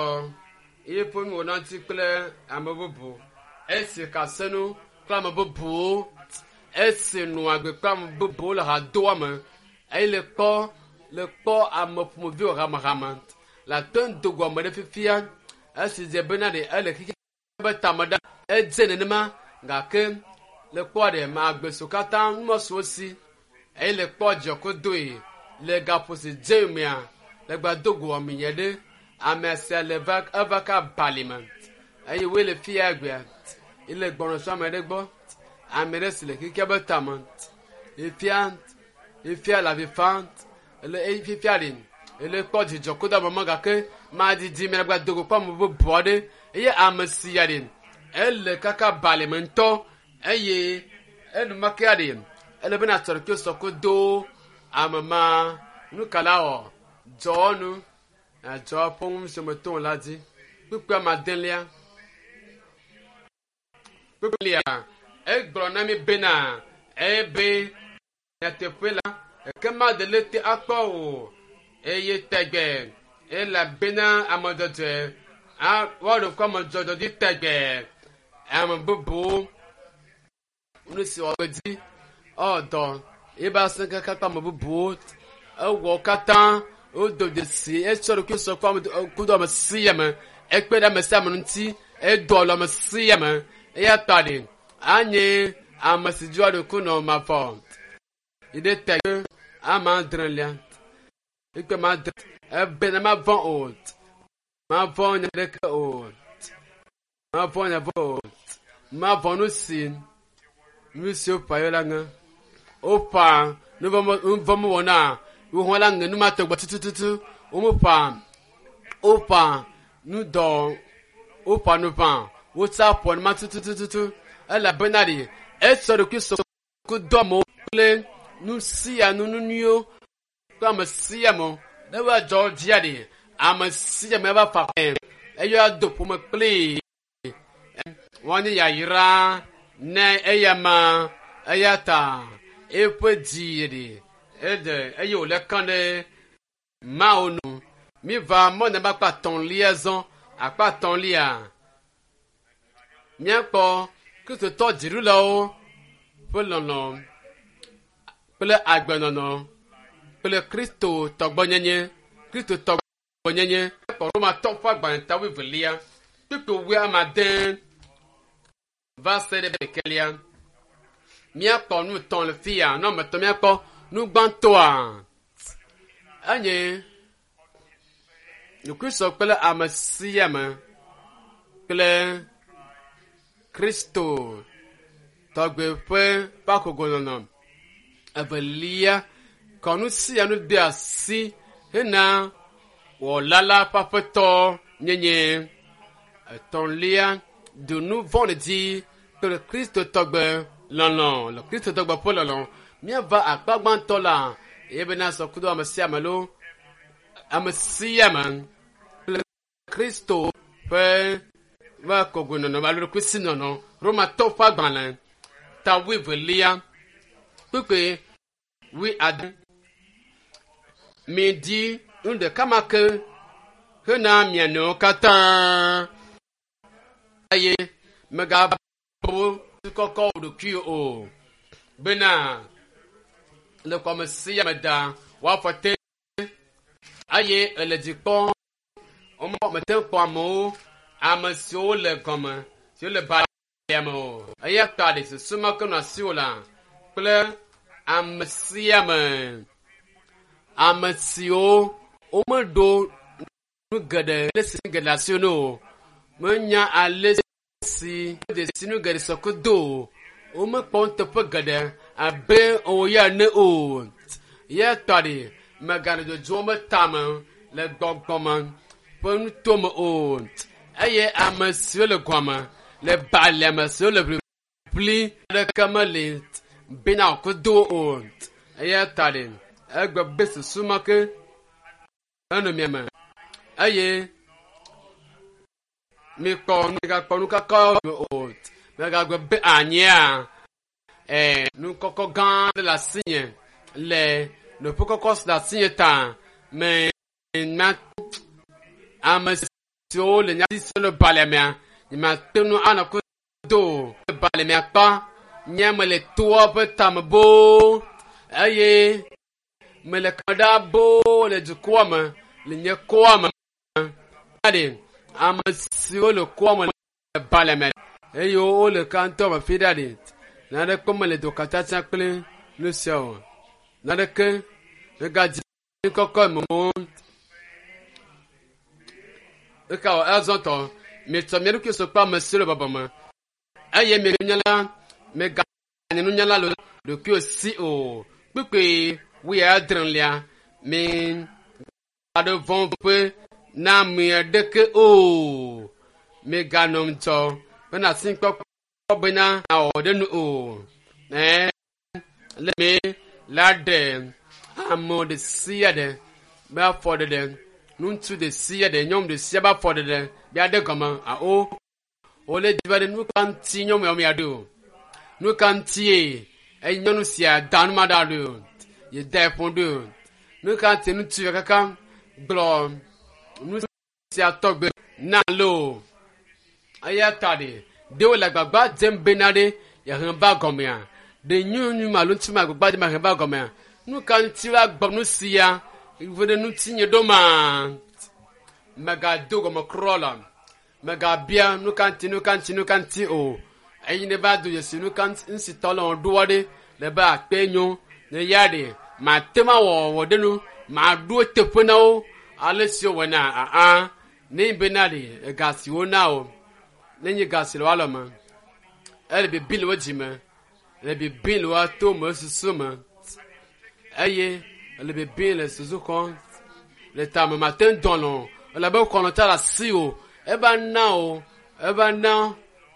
eƒe nuwɔna ŋuti kple ame bubu esi kasenu kple ame bubuwo esi nɔ agbe kple ame bubuwo le hadoa me eye le kpɔ le kpɔ ame ƒomeviwo hamehame le ate ŋu do gɔme ɖe fifia esi dze bena ɖe ele xixi be tame ɖa edze nenema gake le kpɔ ɖe ma agbe siwo katã numɔsiwo si eye le kpɔ dziɔkodoe le gaƒo si dze mea le gba do go ame ɖe ame sia le va eva ka bali me eye woe le fia egbea ele gbɔnɔsɔ ame ɖe gbɔ ame ɖe si le xixia be tame efia efia le avi fam ele eyi fifia ɖe ele kpɔ dzidzɔ kodo ame ma gake madidi me gba dogo kpɔ ame bubu aɖe eye ame sia ɖe ele kaka bali me ŋutɔ eye enumake ɖe ele bena sɔrɔ sɔ kodo ame ma nu ka la wɔ dzɔwɔnu adzɔ ƒe ŋu si me to la dzi kpukpui amadelia kpukpuia egblɔ na mi bena ebe nyateƒe la ekema ɖe te akpɔ o eye tɛgbɛ elabena ame dzɔdzɔe woaɖo ŋku ame dzɔdzɔ dzi tɛgbɛ ame bubuwo nu si wɔ dzi ɔdɔ ebe asẽ kaka kple ame bubuwo ewɔ katã wodo dzesi etsɔ ɖokui sɔ kple ame kudo ame sia ame ekpe ɖe ame sia ame ŋuti edo alɔ ame sia ame eya ta ɖe anye ame si dzi woaɖo ku nɔ mavɔ yi ɖe tɛgbɛ ame adrelia ikpe ma adre ebe ne ma vɔ̃ o ma vɔ̃ nya ɖeke o ma vɔ̃ nya vɔ̃ o ma vɔ̃ nu si nu si woƒã yɔ la ŋe woƒã nu vɔ̃ mewɔna wohɔn la ŋe nu ma tɔgbe tutututu womeƒã woƒã nu dɔ woƒã nu ʋã wotsa ƒɔ nu ma tutututu elabena ɖe esɔ ɖokui sɔ kudo amewo kple nu sia nu nu nyuiwo kple ame sia ame ne woadzɔ dzia ɖe ame sia ame va fa ɛ eye ado ƒome kplii woanye yayra ne eya ma eya ta eƒe dzi ɖe eɖe eye wòle kã ɖe mawo nu mi va mɔne be akpa atɔ̃lia zɔ akpa atɔ̃lia míakpɔ kristotɔ dziɖulawo ƒe lɔlɔ kple agbenɔnɔ kple kristo tɔgbɔnyenye kristo tɔgbɔnyenye kpɔ romatɔ ƒe agbalẽ ta wuievelia kpukpui wui ame ade va se ɖe ɖekɛlia míakpɔ nu etɔ̃ le fia ne ame etɔ̃ míakpɔ nu gbãtɔa enye ɖokuisɔ kple ame sia ame kple kristo tɔgbe ƒe ƒe evelia kɔnu sia nu de asi hena wɔla la ƒe aƒetɔ nyenye etɔ̃lia do nu vɔ̃ɖi dzi kple kristo tɔgbe lɔlɔ le kristo tɔgbe ƒe lɔlɔ míava akpa gbãtɔ la eye bena sɔ kudo ame sia ame lo ame sia ame kple kristo ƒe ƒe kɔgoenɔnɔ alo ɖokuisinɔnɔ romatɔ ƒe agbalẽ ta wuievelia kpukpui wui ade midi nu ɖeka ma ke hena mia nɔewo katã eye megabu kɔkɔ wò ɖokui o bena le kɔme sia me da woafɔ te eye ele dzi kpɔm womekpɔ mete ŋu kpɔ amewo ame siwo le gɔme siwo le balia me o eya ta ɖe susu ma ke nɔ asiwò la kple ame sia ame ame siwo womeɖo nu geɖe ale si nu geɖe asiwò ne o menya ale si dzesi nu geɖe sɔ kudo o womekpɔ nuteƒe geɖe abe wò ya ene o ya ta ɖe mèganɔ dzodzom be tame le gbɔgbɔme ƒe nutome o eye ame siwo le gɔme le balia me siwo le ʋiʋlim ʋiʋli ɖeke meli bena wòkudo o. Eya ta ɖe egbe be susu ma ke enɔ mia me eye mikpɔ migakpɔ nu kaka o. Megagbe be anyia ɛɛ nu kɔkɔ gã aɖe le asinye le nɔƒe kɔkɔ si le asinye ta me na ame siwo le nyati siwo le balimea nyemate ŋu anɔ kudo o. Le balimea kpa nye mele toa ƒe tame boo eye mele kame ɖa boo le dukɔa me le nye kɔa me. Ɖe ame siwo le kɔa me le balime eye wole kantɔ me fi ɖa ɖe naneke mele dokatsatsa kple nu siawo o. Naneke megadzi kɔkɔ me o. Eka wɔ azɔ tɔ mietsɔ mia ɖokui sɔ kple ame siwo le bɔbɔ me eye mi nunyala meganye nunyala le ɖokuiwò si o. Kpukpui wuiadrelia mi gaɖo vɔ̃ ƒe na ame aɖeke o. Miganɔ ŋudzɔ bena asikpɔkpɔ bena nawɔ ɖe nu o. Ɛɛ le mi la ɖe ame ɖe sia ɖe be afɔ ɖeɖe ŋutsu ɖe sia ɖe nyɔnu ɖe sia be afɔ ɖeɖe be aɖe gɔme awo wole di be ɖe nu ka ŋuti nyɔnu ya mia ɖo o. Nu ka ŋutie eye nyɔnu sia da nu ma ɖa ɖo o. Ye da eƒo ɖo o. Nu ka ŋuti ŋutsu ya kaka gblɔ nu sia tɔgbe na lo. Eya ta ɖe ɖe wole agbagba dzem bena ɖe yehe va gɔmea ɖe nyɔnu ma alo ŋutsu ma agbagba dzem yehe va gɔmea nu ka ŋuti woagblɔ nu sia ve ɖe ŋutinye ɖo ma megado gɔme kura la megabia nu ka ŋuti nu ka ŋuti nu ka ŋuti o eyi ne va do dzesi nu ka ŋuti ŋuti tɔ le wɔɖoa ɖe le be akpe nyo ne ya ɖe mate ma wɔ wɔ ɖe nu maɖo teƒe na wo ale si wowɔna aa ne yi bena ɖe ega si wona o ne nye ga si le woalɔ me ele bibi le wo dzime le bibi le woa to me susu me eye ele bibi le susu xɔm le tame mate ŋu dɔn o elabe xɔlɔ̃ tsa le asi o eva na o eva na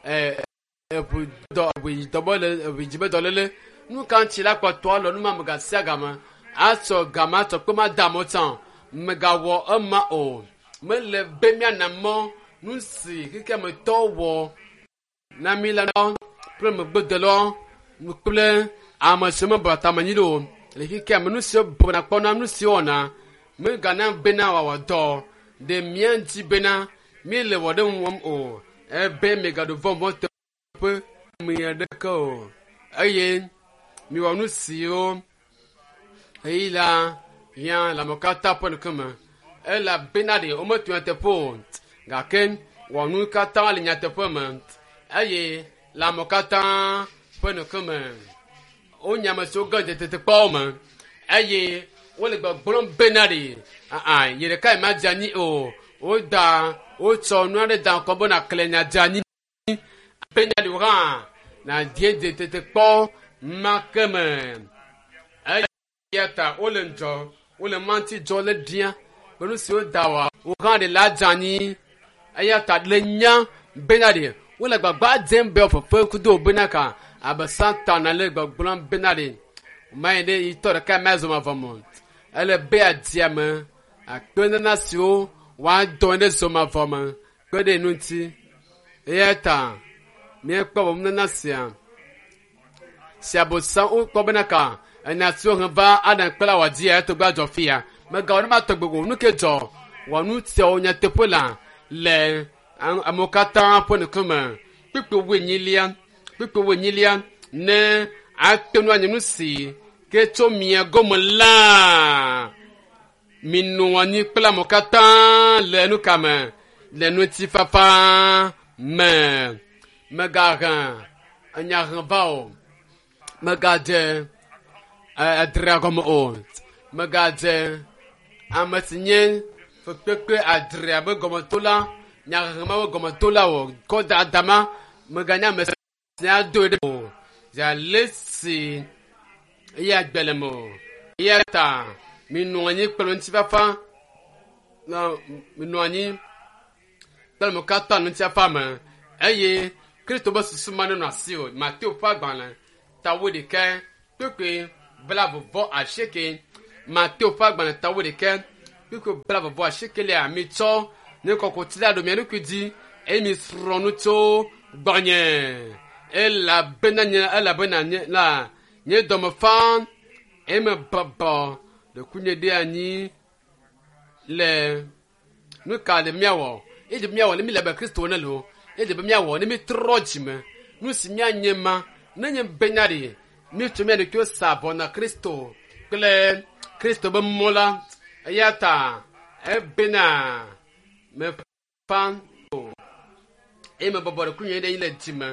ɛ eʋu dɔ eʋu yi dɔ be le eʋu yi dzi be dɔléle nu ka ŋuti la kpɔtɔ alɔ nu ma megasia game atsɔ game atsɔ kpe ma da amewo tsã o megawɔ ema o mele be miana mɔ nu si xexeametɔ wɔ na mi la kple megbedelawo kple ame siwo mebɔ tame nyi ɖo o le xexea me nu siwo bɔna kpɔna nu siwo wɔna megana bena wòawɔ dɔ ɖe mía ŋuti bena míele wɔ ɖe ŋu wɔm o ebe migaɖo vɔ̃ vɔ̃ teƒe ame aɖeke o eye miwɔ nu siwo ɣeyiɣi la hiã le amewo katã ƒe ŋkume elabena ɖe wometu nyateƒe o gake wɔ nu katã le nyateƒe me eye le amewo katã ƒe ŋkume wonya ame siwo ge dze tetekpɔwo me eye wole gbɔgblɔm bena ɖe aa yi ɖeka yi madze anyi o woda wotsɔ nu aɖe da ŋkɔ bena kle nya dze anyi bena ɖe wo hã nadie dze tetekpɔ ma ke me eya ta wole ŋdzɔ wole manti dzɔ le ɖia be nu siwo da wa wo hã ɖe la dze anyi eya ta le nya bena ɖe wole gbagba dzem be fefe kudo bena ka abe satana le gbɔgblɔm bena ɖe mayi ɖe yitɔ ɖeka ma zɔ mavɔ me ele be adia me akpe nana siwo woadɔ ɖe zɔ mavɔ me kpe ɖe nu ŋuti eya ta míekpɔ bɔ nana sia siabosa wokpɔ bena ka enya siwo hẽ va adam kple la wòadi ya etɔgbe adzɔ fia megawɔ ne ma tɔgbe o nu ke dzɔ wɔ nu siawo nyateƒe la le amewo katã ƒe ŋkume kpukpui wuenyilia kpukpui wuenyilia ne ate ŋu anye nu si ke tso mia gɔme la minɔ anyi kple amewo katã le nu ka me le ŋutifafa me megahe enya he va o megadze adrea gɔme o megadze ame si nye fekpekpe adrea be gɔmetola nyahehe ma be gɔmetola o kɔ da adama meganye ame si adoe ɖe o ale si eye agbe le me o eya ta minɔ anyi kple ŋutifafa minɔ anyi kple mo katã ŋutifafa me eye Kristo be susu ma nenɔ asi o. Mateo ƒe agbalẽ ta wuiɖekɛ kpukpui blaeve vɔ asieke. Mateo ƒe agbalẽ ta wuiɖekɛ kpukpui blaeve vɔ asiekelia mitsɔ nye kɔkuti la ɖo mia ɖokui dzi eye misrɔ̃ nu tso gbɔnye elabena nye elabena nye la nye dɔme fa eye mebɔbɔ ɖokuinye ɖe anyi le nu ka le míawɔ eye be míawɔ ne mi le abe Kristo ene loo eye be míawɔ ne mítrɔ dzime nu si míanye ma ne nye benya ɖe míetsɔ mía ɖokuiwo sa avɔ na Kristo kple Kristo be mɔ la eya ta ebena mefa o eye mebɔbɔ ɖokuinye ɖe anyi le dzime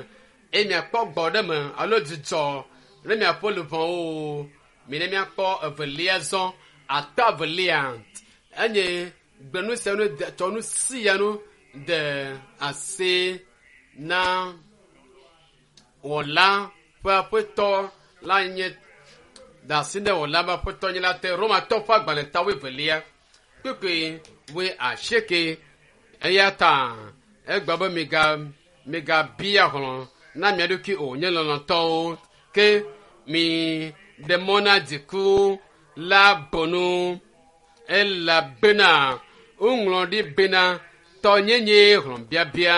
eye miakpɔ gbɔ ɖe me alo dzidzɔ ne miaƒe luʋɔwo mi ne miakpɔ evelia zɔ atɔ evelia enye gbenu sia nu de tsɔ nu sia nu de asi na wɔla ƒe aƒetɔ la nye da asi ɖe wɔla ƒe aƒetɔ nye la te Romatɔ ƒe agbalẽ ta wuievelia kpukpui wui asieke eya ta egblɔ be miga migabia hlɔ̃ na mia ɖokui o nye lɔlɔ̃tɔwo ke mi ɖe mɔ na dziku la bɔnu elabena woŋlɔ ɖi bena tɔnyenye hlɔ̃biabia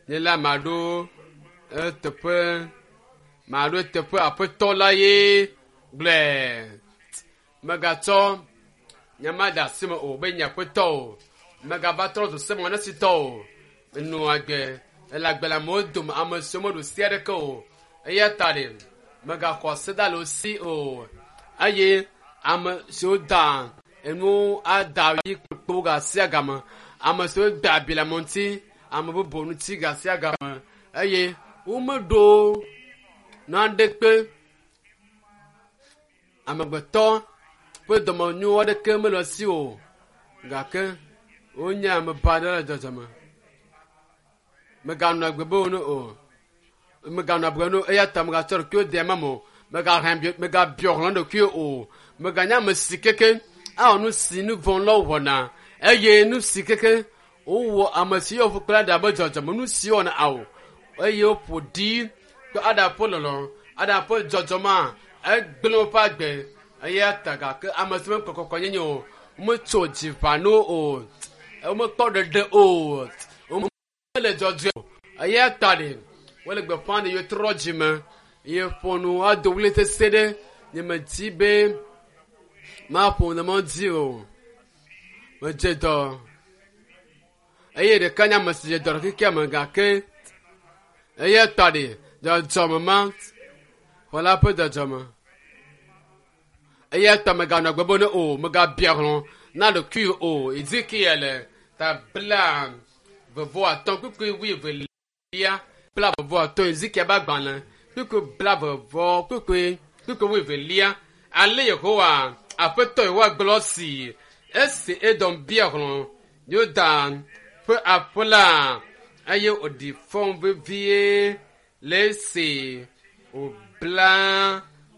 nye la maɖo eteƒe maɖo eteƒe aƒetɔ la ye gblɔe megatsɔ nye ma de asi me o be nye aƒetɔ o megava trɔ zu seme ne si tɔ o nɔ agbe ele agbe le amewo dome ame siwo meɖu si aɖeke o eya ta ɖe megaxɔ ase da le wo si o eye ame siwo da enuwo ada yi kpokpo gasia game ame siwo da abi le ame ŋuti ame bubu ŋuti gasia game eye womeɖo naɖekpe amegbetɔ ƒe dɔmenyo aɖeke mele esi o gake wonye ame baɖa le dzɔdzɔme meganɔ agbe be wo no o meganɔ agbe no eya ta megatsɔ ɖokuiwo de ema me o megahe bi megabiɔ hlɔ̃ ɖokuiwo o meganye ame si keke awɔ nu si nu vɔ̃ la wɔna eye nu si keke wowɔ ame si yɔ ƒu kple aɖa be dzɔdzɔme nu si wɔna awo eye woƒo ɖi kple aɖa ƒe lɔlɔ aɖa ƒe dzɔdzɔmea egblẽ woƒe agbe eya ta gake ame si mekpɔ kɔkɔnyenye o wometso dzi ʋã o womekpɔ ɖeɖe o womele dzɔdzɔe o eya ta ɖe wole gbeƒã ɖe yewotrɔ dzime ye ƒo nu ado ɣli sesẽ ɖe nye medi be maƒo ne medi o medze dɔ eye ɖeka nye ame si dze dɔ ɖe xexea me gake eya ta ɖe dzɔdzɔme ma xɔla ƒe dzɔdzɔme eya ta meganɔ agbe be ne o megabia hlɔ̃ na ɖokuiwò o Ezekiel ta bla vevɔ atɔ̃ kpukpui wuievelia bla vevɔ atɔ̃ Ezekiel ƒe agbalẽ kpukpui bla vevɔ kpukpui kpukpui wuievelia ale Yehowa aƒetɔ Yehowa gblɔ si esi Edom bia hlɔ̃ Yuda ƒe aƒe la eye wòɖi fɔ vevie le esi wòbla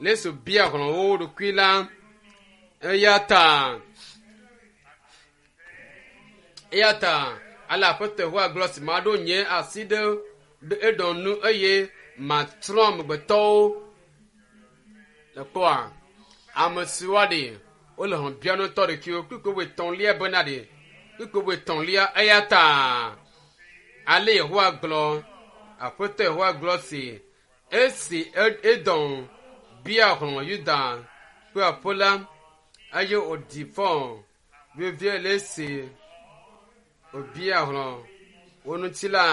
le esi wòbia hlɔ̃ wo ɖokui la eya ta eya ta ale aƒetɔ Yehowa gblɔ si maɖo nye asi ɖe ɖe Edom nu eye matsrɔ̃ amegbetɔwo le kpɔa ame siwo aɖe wole hlɔ̃ biam ŋutɔ ɖokuiwo kpukpui wuietɔ̃lia bena ɖe kpukpui wuietɔ̃lia eya ta ale Yehowa gblɔ aƒetɔ Yehowa gblɔ si esi Edom bia hlɔ̃ Yuda ƒe aƒe la eye wòɖi fɔ vevie le esi wòbia hlɔ̃ wo ŋuti la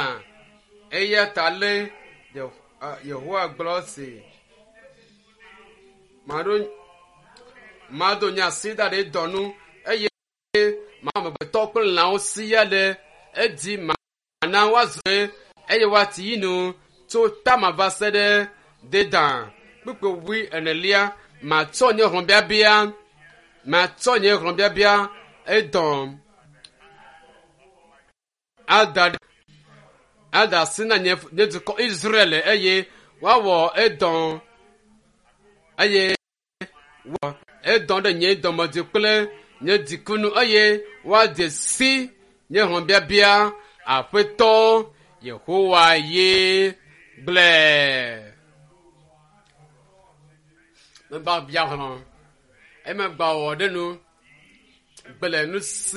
eya ta ale Yehowa gblɔ si maɖo mado nye asi da ɖe dɔ nu eye ma amegbetɔ kple lãwo siaa ɖe edzi mana woazɔ eye woati yi nu tso Tama va se ɖe Dedan kpukpui wui enelia matsɔ nye hlɔ̃biabia matsɔ nye hlɔ̃biabia Edom ada ada asi na nye nye dukɔ Israel eye woawɔ Edom eye wɔ Edom ɖe nye dɔmedzoe kple nye dzikunu eye woadze si nye hlɔ̃biabia aƒetɔ Yehowa ye gblɔe. Megba bia hlɔ̃, emegba wɔ ɖe nu, gblẽ nu si.